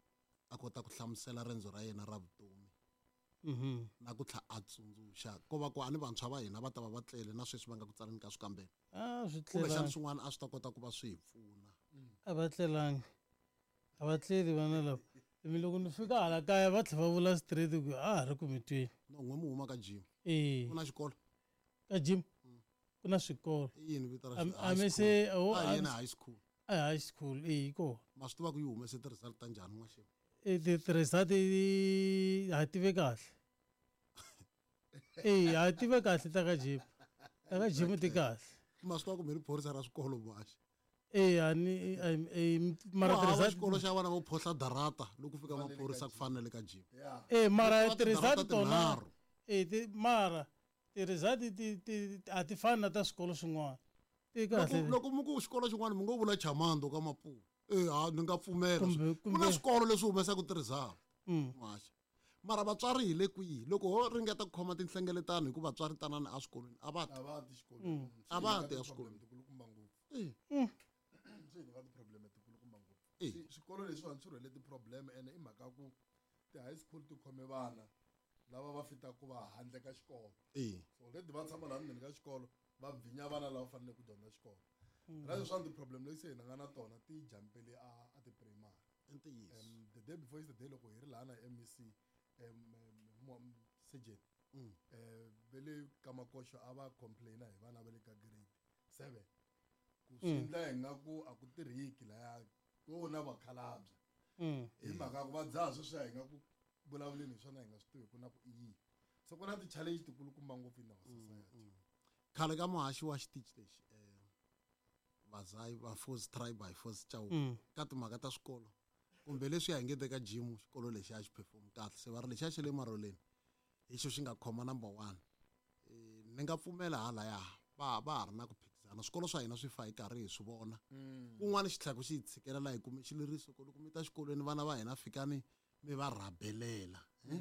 a kota ku hlamusela rendzo ra yena ra vutomi na ku tlha a tsundzuxa ko va ku a ni vantshwa va hina va ta va va tlele na sweswi va nga ku tsaleni ka swikambelo. A swi kumbexana tlelangi. Swin'wana a swi ta kota ku va swi hi pfuna. A va tlelangi, a va tleli vana lava. Mi loko ni fika hala kaya va tlhela va vula straight ku a ha ri ku mi tweni. No, n'we mi huma ka gym. E. Ku na xikolo? Ka gym ku na swikolo. I yini vito ra A mi se a hi yeni high school. A high school e yi kona. Ma swi tiva ku yi humese ti-result ta njhani n'waxemu? E ti-result ha tive kahle, e ha tive kahle ta ka gym, ta ka gym ti kahle. Ma swi tiva ku mi ri phorisa ra swikolo, muhaxi? E a ni e mara Ku hava ti-result xikolo xa vana vo phohla darata loko fika maphorisa ku fana na le ka gym. E mara Ku ti-result tidarata tona tinharhu. E ti mara ti-result ti a ti fani na ta swikolo swin'wana, ti kahle. Loko mi ku xikolo xin'wana, mi ngo vula Chamando ka Mapuwa, e ha ni nga pfumela. Ku na swikolo leswi humesaka ti-result, muhaxi, mara vatswari hi le kwihi loko ho ringeta ku khoma tinhlengeletano? Hikuva vatswari tanani eswikolweni a va ti. A va ti xikolweni. A va ti eswikolweni. Tikulukumba ngopfu. Swi hi nyika ti-problem tikulukumba ngopfu. Swikolo leswiwani swi rhwele ti-problem, ene i mhaka ku ti-high school ti khome vana lava va fitaka ku va handle ka xikolo. So already va tshama laha ndzeni ka xikolo, va bvinya vana lava faneleke ku dyondza xikolo. Na leswiwani ti-problem leti se hina nga na tona ti jampele a ti-primary. I ntiyiso. The day before yesterday, loko hi ri laha na MEC, surgeon, ve le ka Makoxo a va complaina hi vana va le ka grade 7 ku swi endla hi nga ku a ku tirhiki laya ko na vakhalabya, hi mhaka ku va dzaha sweswiya. Hi nga ku vulavuleni hi swona, hi nga swi tivi ku na ku i yini. So ku na ti-challenge tikulukumba ngopfu in our society. Khale ka muhaxi wa xitichi lexi, vazayi va force try by force Chauke, ka timhaka ta swikolo kumbe leswi hi ngete ka gym, xikolo lexi a xi perform kahle, se va ri lexiya xa le Maroleni hi xo xi nga khoma number one. Ni nga pfumela halaya va ha ri na ku phikizana. Swikolo swa hina swi fa hi karhi hi swi vona. Kun'wana xi tlhela xi hi tshikelela, hi kume xileriso ku loko mi ta xikolweni, vana va hina fikani mi va rhabelela, eh?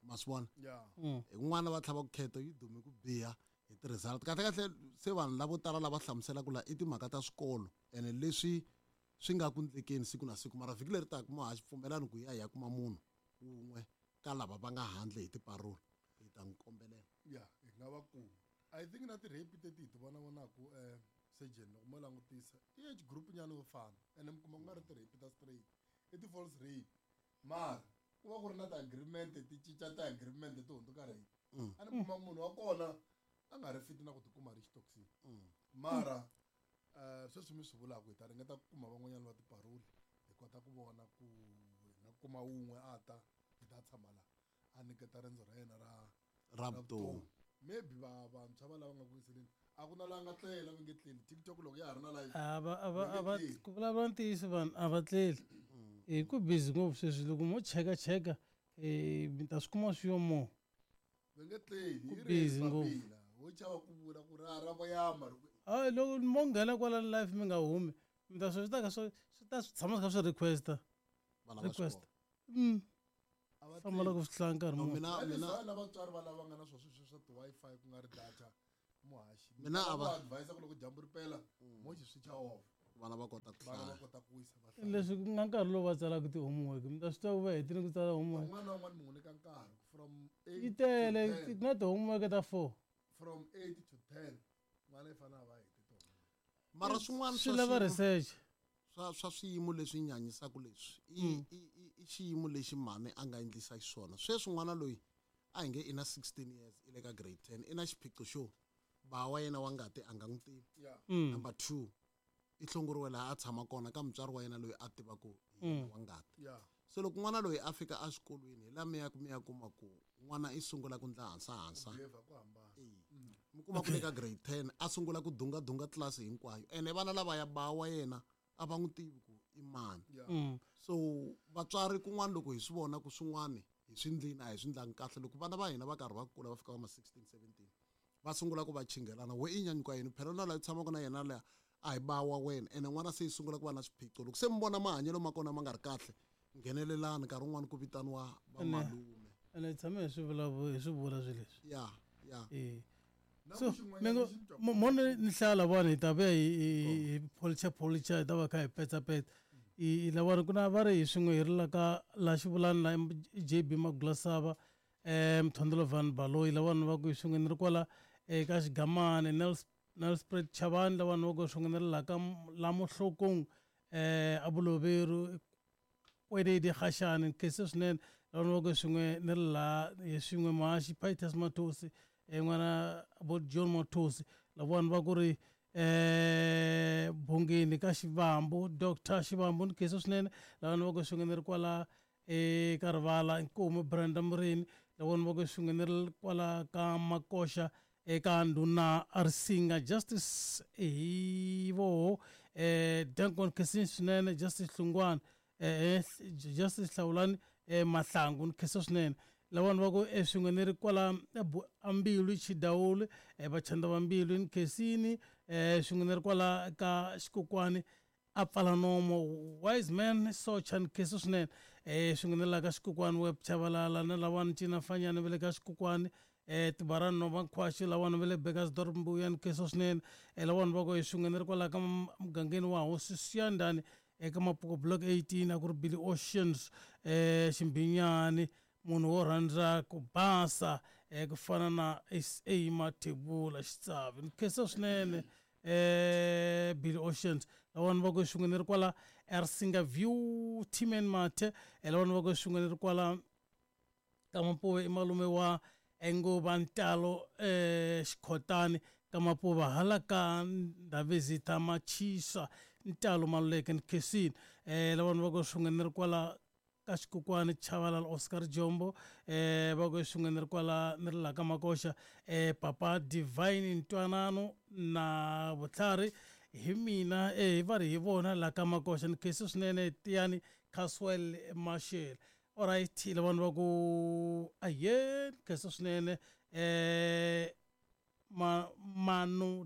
Ma swi vona? Hi kun'wana va tlhava ku kheto yi dume ku biha hi ti-result. Kahle kahle se vanhu lavo tala lava hlamuselaka la i timhaka ta swikolo ene leswi swi nga ku ndlekeni siku na siku. Mara vhiki leri taka, muhaxi, pfumelani ku ya hi ya kuma munhu wun'we ka lava va nga handle hi tiparoli, hi ta n'wi kombelela. Ya, hi nga va kuma. I think na ti-rape teti hi ti vona vonaku, surgeon, loko mo langutisa i age group nyana yo fana, ene mi kuma ku nga ri ti-rape ta straight, i ti-false rape, mara ku va ku ri na ti-agreement, ti cinca ti-agreement ti hundzuka rape. A ni kuma munhu wa kona a nga ri fiti na ku tikuma ri xitokisini. Mara sweswi mi swi vulaka, hi ta ringeta ku kuma van'wanyana va tiparoli, hi kota ku vona ku hi nga kuma wun'we a ta hi ta tshama laha a nyiketa rendzo ra yena ra ra vutomi. Maybe va vantshwa va lava nga ku yiseleni, a ku na laha nga tlela, va nge tleli. TikTok loko ya ha ri na live. A va a va va nge a va tleli. Ku vulavula ntiyiso, vanhu a va tleli hi ku busy ngopfu sweswi. Loko mo cheka cheka, mi ta swi kuma swi yo mo. Va nge tleli. Ku Hi busy ri ngopfu. papila wo chava ku vula ku ra ra voyama ri Hayi, loko mo nghena kwala live mi nga humi, mi ta swi ta ka swi ta swi tshama swi kha swi requesta. Va lava Request. xikolo. A va Hlamala ku tivi. swi hlaya nkarhi No, muni. mina Na vatswari va lava nga na swona sweswi swa ti-Wi-Fi ku nga ri data muhaxi. Mina a va- advise ku loko dyambu ri pela mo xi switcha off. Vana va kota ku Vana va hlaya. kota ku wisa va hlaya. Leswi ku nga nkarhi lowu va tsalaka ti-homework mi ta swi tiva ku va hetile ku tsala homework. Un'wana na un'wana mi n'wi nyika nkarhi from 8 Yi tele to 10. ku na ti-homework ta 4. From 8 to 10 n'wana i fanele a va hete tona. Mara swin'wana Swi lava research. Swa swiyimo leswi nyanyisaka leswi i xiyimo lexi mhani a nga endlisa xiswona. Sweswi n'wana loyi a hi nge i na 16 years i le ka grade 10 i na xiphiqo xo ba wa yena wa ngati a nga n'wi tivi. Number 2 i hlongoriwe laha a tshama kona ka mutswari wa yena loyi a tivaka hi yena wa ngati. Se loko n'wana loyi a fika exikolweni hi laha mi ya mi ya kuma ku n'wana i sungula ku ndla hansahansa. Mi kuma ku le ka grade 10 a sungula ku dungadunga tlilasi hinkwayo ene vana lavaya ba wa yena a va n'wi tivi ku i mani. So vatswari kun'wana loko hi swi vona ku swin'wana hi swi ndlini a hi swi ndlangi kahle loko vana va hina va karhi va kula va fika va ma 16 17 va sungula ku va chingelana we i nyanyuka yini phela na laha u tshamaka na yena leya a hi ba wa wena ene n'wana se yi sungula ku va na swiphiqo loko se mi vona mahanyelo ma kona ma nga ri kahle nghenelelani nkarhi wun'wani ku vitaniwa vamalume. Ene hi tshame hi swi hi swi vula swilo leswi. Ya ya. So mi ngo mo ni hlaya lavawani hi ta vuya hi policha policha hi ta va kha hi petsapetsa. I lavawani ku na va ri hi swin'we hi ri la ka la xivulani la JB Magulasava Mthondolo Van Baloyi lavawani va ku hi swin'we ni ri kwala eka Xigamani Nelspruit Chavani lavawani va ku hi swin'we ni ri la ka la Mohlokong Abuloveru Kwededi Gashani khensa swinene lavawani va ku hi swin'we ni ri la hi swin'we Mahaxi Pitus Mathosi n'wana vo John Mathosi lavawani va ku ri Bongeni ka Xivambu Dr Xivambu ni khensa swinene lavawani va ku hi swin'we ni ri kwala eka rivala Nkomo Brenda Murini lavawani va ku hi swin'we ni ri kwala ka Makoxa eka ndhuna Risinga Justice hi voho Duncan khensa swinene Justice Hlungwana Justice Hlawulani Mahlangu ni khensa swinene lavawani va ku swin'we ni ri kwala Ambilu Chidawule Vachanda va Mbilu ni khensini swin'we ni ri kwala ka Xikokwani a pfala nomo Wise Man Socha ni khensa swinene swin'we ni la ka Xikokwani Web Chavalala na lavawani Ncina Fanyana va le ka Xikokwani Tibarani Nova Nkhwaxi lavawani va le Burgersdorp Mbuya ni khensa swinene lavawani va ku swin'we ni ri kwala ka mugangeni wa Hosi Siyandhani eka Mapuku Block 18 a ku ri Billy Oceans Ximbinyani munhu wo rhandza ku basa ku fana na SA Mathebula Xitsavi ni khensa swinene Billy Oceans lavawani va ku swin'we ni ri kwala Ersinga View Timen Mathe lavawani va ku swin'we ni ri kwala ka Mapuve i malume wa Enguva Ntalo Xikhotani ka Mapuva hala ka Ndhavezitha Machisa Ntalo Maluleke ni khensini lavawani va ku swin'we ni ri kwala ka Xikokwani Chavalala Oscar Jombo va ku swin'we ni ri kwala ni ri la ka Makoxa Papa Divine Ntwanano na Vutlhari hi mina va ri hi vona la ka Makoxa ni khensa swinene Tiyani Caswell Mashele. Alright lavawani va ku aye ni khensa swinene Manu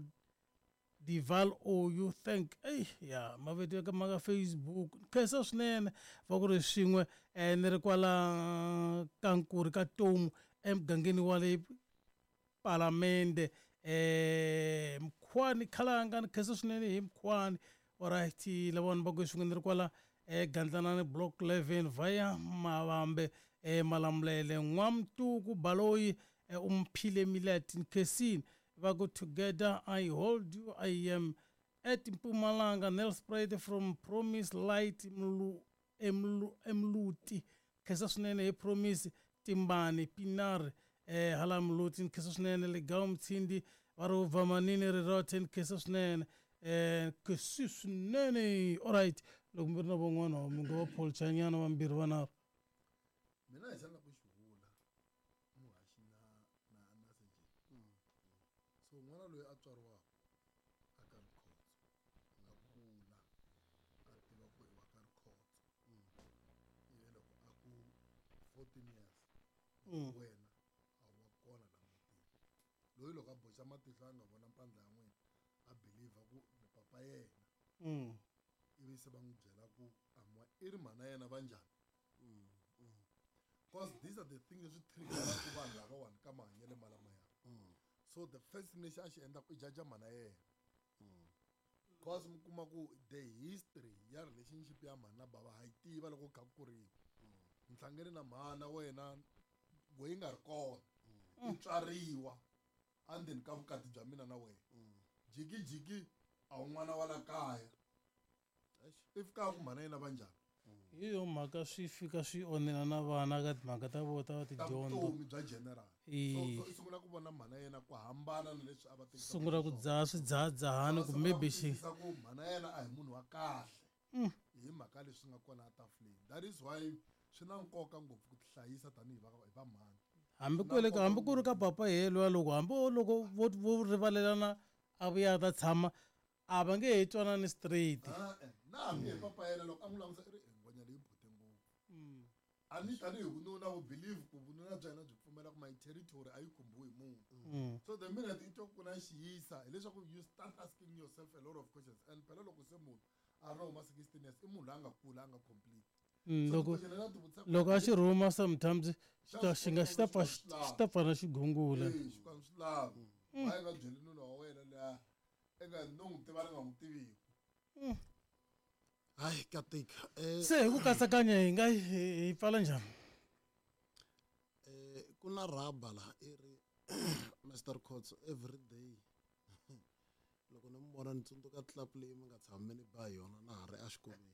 Dival Oyu thank ya mavito ya ma ka Facebook khensa swinene va ku ri swin'we ni ri kwala ka Nkuri ka Tomu emugangeni wa le Palamende Mkhwani Khalanga ni khensa swinene hi Mkhwani. Alright lavawani va ku swin'we ni ri kwala Gandlanani Block 11 via Mavambe Malamulele N'wamtuku Baloyi Umphile Millet ni khensini va ku together I hold you I am at Mpumalanga Nelspruit from Promise Light Emluti khensa swinene hi Promise Timbani Pinar hala Mluti ni khensa swinene Legawu Mtshindi va ri Vamanini Rirothe ni khensa swinene khensi swinene. Alright loko mi ri na van'wana mi nga va pholichanyana vambirhi vanharhu. Mina hi xana ku xi vula muhaxi na na so n'wana loyi a tswariwaka a ka Rikhotso a nga kula a tiva ku i wa ka Rikhotso ivi loko a ku 14 years wena a wa kona la mutini loyi loko a boxa matihlo a nga vona mpandla ya n'wina a believer ku ni papa yena ivi se va n'wi byela ku i ri mhana yena va njhani. Because these are the things leswi triggeraka vanhu lavawani ka mahanyelo malamaya. So the first thing lexi a xi endlaka i jaja mhana yena. Because mi kuma ku the history ya relationship ya mhani na bava ha yi tiva loko kha ku kuriwa. Ni hlangene na mhana wena we yi nga ri kona. I tswariwa endzeni ka vukati bya mina na wena. Jikijiki a wu n'wana wa la kaya. I fika ku mhana yena va njhani? Hi yo mhaka swi fika swi onhela na vana ka timhaka ta vona ta Ta tidyondzo. vutomi bya general. E. So i sungula ku vona mhana yena ku hambana na leswi a va tekisa Sungula ku dzaha swidzahadzahani ku maybe xi ku mhana yena a hi munhu wa kahle. Hi mhaka leswi nga kona etafuleni. That is why swi na nkoka ngopfu ku tihlayisa tanihi va hi va mhani. Hambi ku le hambi ku ri ka papa yelwa loko hambi loko vo vo rivalelana a vuya a ta tshama a va nge he twanani straight. Na hambi hi papa yena loko a n'wi langusa i ri ngwenya leyi bote ngopfu. A ni tanihi vununa wu believe ku vununa bya yena byi pfumela ku my territory a yi khumbiwi hi munhu. So the minute i twa ku na xiyisa hileswaku you start asking yourself a lot of questions, and phela loko se munhu a ri huma 16 years i munhu loyi a nga kula a nga complete. Loko loko a xi rhuma sometimes xi nga xi ta pfa xi ta pfa na xigungula. Xikwembu swi lava. Why nga byeli nuna wa wena luya i nga no n'wi tiva ni nga n'wi tiviku. Hayi ka tika. Se hi ku katsakanya hi nga hi pfala njhani? Ku na rhaba laha i ri Mr Khotso every day. Loko ni mi vona ni tsundzuka club leyi mi nga tshama ni ba hi yona na ha ri exikolweni.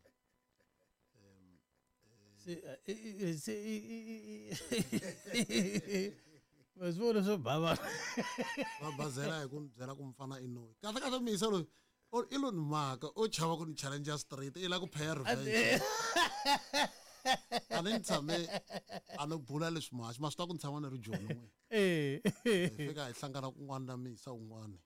Se se ma swi vona swo bava. Va bazela hi ku ni byela ku mfana i noyi. Kahle kahle miyisa loyi i lo ni maka o chava ku ni challenge straight i la ku pay revenge. A ni tshame a ni bula leswi muhaxi ma swi tiva ku ni tshama ni ri Joni n'we. Hi fika hi hlangana kun'wana na miyisa un'wana.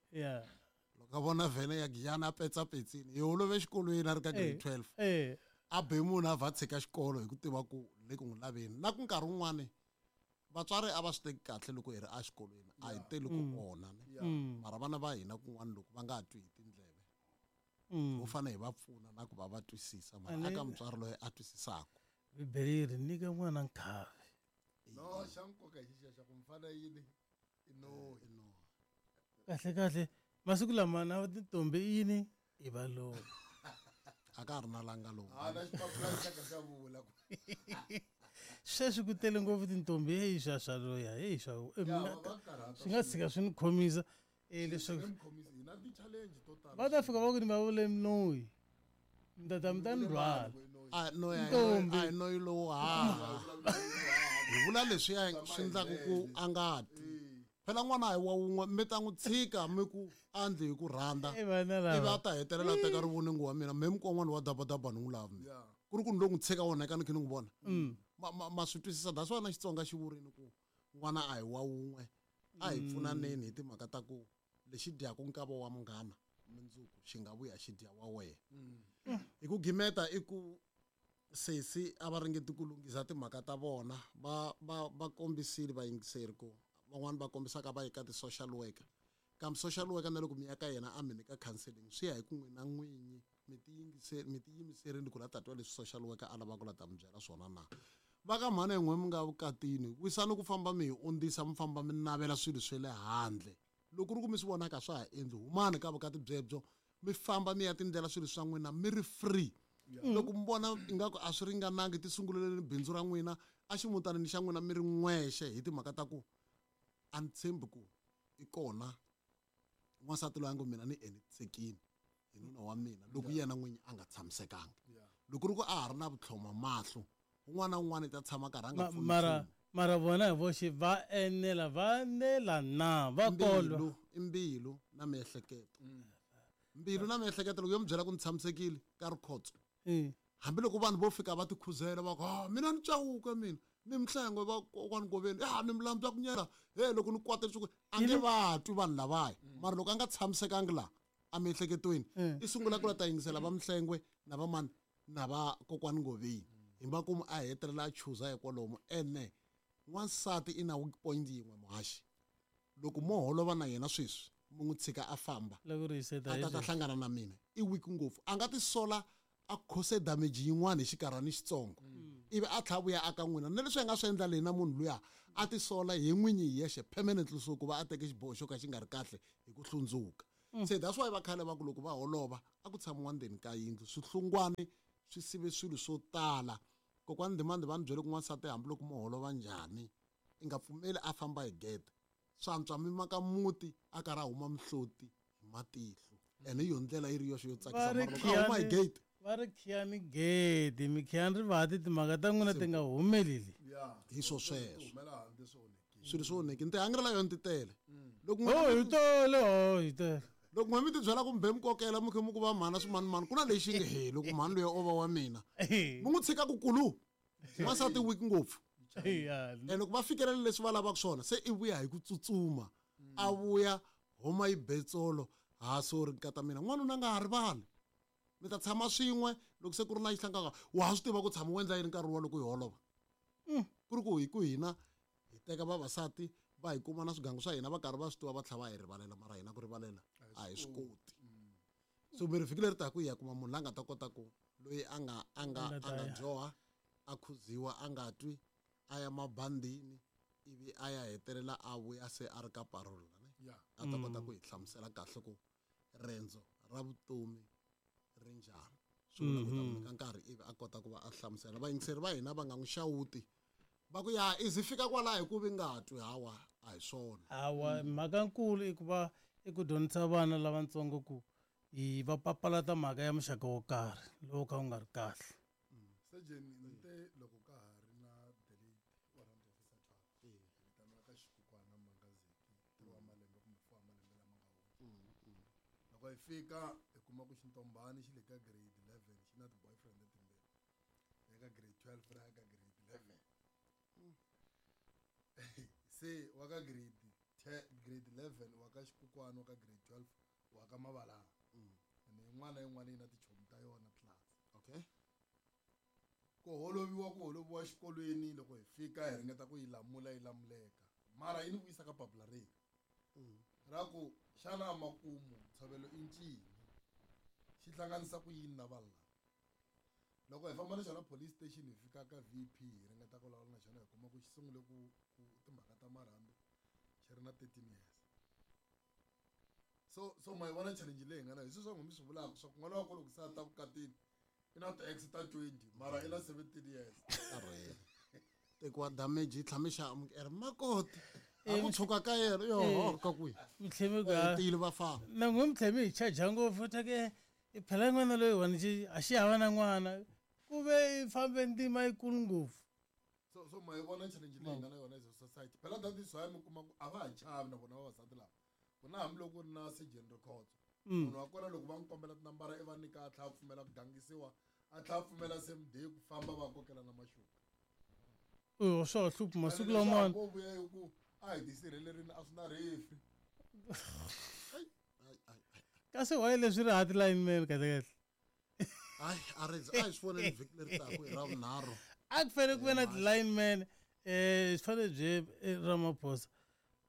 Loko a vona vhene ya Giyani a petsapetsini hi holove exikolweni a ri ka grade 12. A be munhu a vha tshika xikolo hi ku tiva ku le ku n'wi laveni. Na ku nkarhi wun'wani vatswari a va swi teki kahle loko hi ri exikolweni a hi teli ku onha ne. Mara vana va hina kun'wana loko va nga twi hi tindleve ho fanele hi va pfuna na ku va va twisisa mara aka mutswari loyi a twisisaka. Bibele yi ri nyika n'wana nkhavi. No xa nkoka hi xixiya xa ku mfana yini i noyi. Kahle kahle masiku lama na tintombi i yini i valoyi. A ka ha ri na langa lowu. A na xipapula xa ka xa vula ku. Sweswi ku tele ngopfu tintombi heyi swa swa loya heyi swa swi nga tshika swi ni khomisa leswaku va ta fika va ku ni va vule noyi mi ta ta mi ta ni rhwala. A noyi a noyi lowu ha. Hi vula leswiya swi endlaka ku a nga twi. Phela n'wana a hi wa wun'we mi ta n'wi tshika mi ku andli hi ku rhandza. Ivi a ta hetelela a teka rivoningo wa mina me mikon'wana wa dabadaba ni n'wi lavi mina. Ku ri ku ni lo n'wi tshika wona ka ni khe ni n'wi vona. Ma swi twisisa that's why na Xitsonga xi vurini ku n'wana a hi wa wun'we a hi pfunaneni hi timhaka ta ku lexi dyaka nkava wa munghana mundzuku xi nga vuya xi dya wa wena. Hi ku gimeta i ku sesi a va ringeti ku lunghisa timhaka ta vona va va va kombisile vayingiseri ku van'wani va kombisaka va yi ka ti-social worker kambe social worker na loko mi ya ka yena a mi nyika counseling swi ya hi ku n'wina n'winyi mi tiyimiserile ku la ta twa leswi social worker a lavaka ku la ta mi byela swona na. Va ka mhani yin'we mi nga vukatini wisani ku famba mi hi ondzisa mi famba mi navela swilo swa le handle loko ku ri ku mi swi vonaka swa ha endli humani ka vukati byebyo mi famba mi ya tindlela swilo swa n'wina mi ri free. Loko mi vona ingaku a swi ringanangi ti sunguleleni bindzu ra n'wina a ximutanini xa n'wina mi ri n'wexe hi timhaka ta ku a ni tshembi ku i kona n'wansati loyi a ngo mina ni enetisekile hi nuna wa mina loko yena n'winyi a nga tshamisekanga. Loko ri ku a ha ri na vutlhoma mahlo un'wana na un'wana i ta tshama karhi a nga pfuni mara mara vona hi voxe va enela va enela na va kolwa. I mbilu na miehleketo. Mbilu na miehleketo loko yo mi byela ku ni tshamisekile ka rikhotso. Hambiloko vanhu vo fika va tikhuzela va ku mina ni cawuka mina ni mihlengo va kokwani Ngoveni ni milambu ya ku nyela he loko ni kwatela swi a nge va twi vanhu lavaya mara loko a nga tshamisekangi laha emiehleketweni i sungula ku la ta yingisela va Mhlengwe na va mani na va kokwani Ngoveni hi makumu a hetelela a chuza hikwalomu ene n'wansati i na weak point yin'we muhaxi loko mo holova na yena sweswi mi n'wi tshika a famba a ta ta hlangana na mina i weak ngopfu a nga tisola a khose damage yin'wana hi xikarhani xitsongo. Ivi a tlha vuya aka n'wina na leswi a nga swi endla leyi na munhu luya a tisola hi n'winyi hi yexe permanently, so ku va a teke xiboho xo ka xi nga ri kahle hi ku hlundzuka. Se that's why va khale va ku loko va holova a ku tshamiwa ndzeni ka yindlu, swihlungwani swi sive swilo swo tala. Kokwani Ndimande va ni byele ku n'wansati hambiloko mo holova njhani i nga pfumeli a famba hi gede, swantswa mi maka muti a karhi a huma mihloti hi matihlo, ene hi yo ndlela yi ri yoxe yo tsakisa. Mara loko a huma hi gate, va ri khiyani gede, mi khiyani rivati, timhaka ta n'wina ti nga humeleli. Hi swo sweswo swilo swo onheki ni tihangrela yona ti tele. Loko oh, hi tele, oh, hi tele. Loko n'we mi ti byela kumbe mi kokela mi khe mi ku va mhana swimanimani, ku na lexi nge he loko mhani loyi o va wa mina mi n'wi tshika ku kulu n'wansati weak ngopfu. And loko va fikelela leswi va lavaka swona, se i vuya hi ku tsutsuma, a vuya huma yi betsolo ha sorry nkata mina. N'wanuna a nga ha rivali, mi ta tshama swin'we loko se ku ri na xihlangaka wa ha swi tiva ku tshama u endla yini nkarhi wa loko hi holova. Ku ri ku hi ku hina hi teka vavasati va hi kuma na swigangu swa hina va karhi va swi tiva, va tlhela va hi rivalela, mara hina ku rivalela a hi swi koti. So mi ri vhiki leri taka hi ya kuma munhu la nga ta kota ku loyi a nga a nga a nga dyoha, a khuziwa, a nga twi, a ya mabandini, ivi a ya hetelela a vuya se a ri ka parole ne, a ta kota ku hi hlamusela kahle ku rendzo ra vutomi ri njhani. Swi vula ku ta n'wi nyika nkarhi ivi a kota ku va a hlamusela vayingiseri va hina, va nga n'wi xawuti va ku ya izi fika kwalaho hi ku vi nga twi. Hawa, a hi swona. Hawa, mhaka nkulu i ku va i ku dyondzisa vana lavatsongo ku hi va papalata mhaka ya muxaka wo karhi lowu ka wu nga ri kahle. Surgeon ni te loko ka ha ri na the late warrant officer Twala, hi vitaniwa ka Xikukwana Mangazeki 3 wa malembe kumbe 4 wa malembe lama nga hundza. Loko hi fika hi kuma ku xintombani xi le ka grade 11 xi na ti-boyfriend timbirhi, ya ka grade 12 ra ya ka grade 11. Se wa ka grade 10, grade 11 wa ka Xikukwana, wa ka grade 12 wa ka Mavalanga, ene yin'wana na yin'wana yi na tichomi ta yona class. Ku holoviwa, ku holoviwa xikolweni. Loko hi fika hi ringeta ku yi lamula, yi lamuleka, mara yi ni vuyisa ka papila reri ra ku xana makumu ntshovelo i ncini, xi hlanganisa ku yini na vanhu lava. Loko hi famba na xona police station, hi fika ka VP, hi ringeta ku vulavula na xona, hi kuma ku xi sungule ku timhaka ta marhambu xi ri na 13 years. So ma yi vona challenge leyi hi nga na hi sweswi swa mi swi vulaka swa ku n'wana wa ko loko se a ta vukatini i na ti-ex ta 20, mara i na 17 years. Tekiwa damage yi tlhame xa amukela makoti a ku tshuka ka yena yoho ka kwihi. Mitlhemi ku tiyile vafana. Na n'we mitlhemi hi chaja ngopfu take phela n'wana loyiwani xi a xi hava na n'wana ku ve i fambe ndzima yikulu ngopfu. So ma yi vona challenge leyi nga na yona as a society. Phela that is why mi kuma ku a va ha chavi na vona vavasati lava ku na hambiloko ku ri na surgeon Rikhotso, munhu wa kona loko va n'wi kombela tinambara i va nyika, a tlhela a pfumela ku gangisiwa, a tlhela a pfumela same day ku famba va kokela na maxuka. O swa ha hluphi masiku lamawani. Ko vuya hi ku a hi tisirhelerini, a swi na refi. Kasi why leswi ri hati lineman kahle kahle? Hayi, a ri a hi swi voneni vhiki leri taka hi ra vunharhu. A ku fanele ku ve na ti-lineman, swi fanele byi Ramaphosa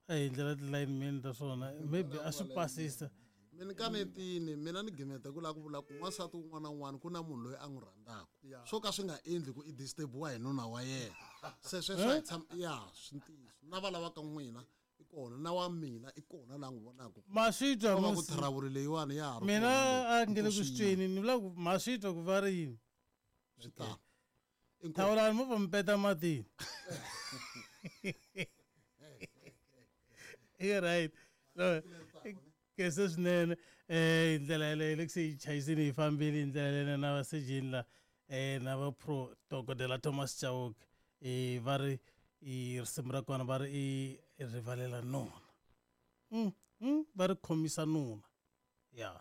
a hi ndlela ti-lineman ta swona, maybe a swi pasisa. Mi ni kanetini mina ni gimeta ku lava ku vula ku n'wansati wun'wana na wun'wana ku na munhu loyi a n'wi rhandzaka, swo ka swi nga endli ku i disturbiwa hi nuna wa yena. Se sweswo a hi tshama ya swi ntiyiso na va lavaka n'wina i kona na wa mina i kona la n'wi vonaka. Ma swi twa va ku thrawuli leyiwani ya ha ri mina a nge le ku swi tweni, ni vula ku ma swi twa ku va ri yini. Swi tano. Thawulani mo va mi peta matini. I right, no kese swinene hi ndlela yeleyo loko se yi chayisini hi fambile hi ndlela yeleyo na vasejeni la na va pro dokodela Thomas Chauke, va ri i risimu ra kona va ri i rivalela nuna, va ri khomisa nuna ya.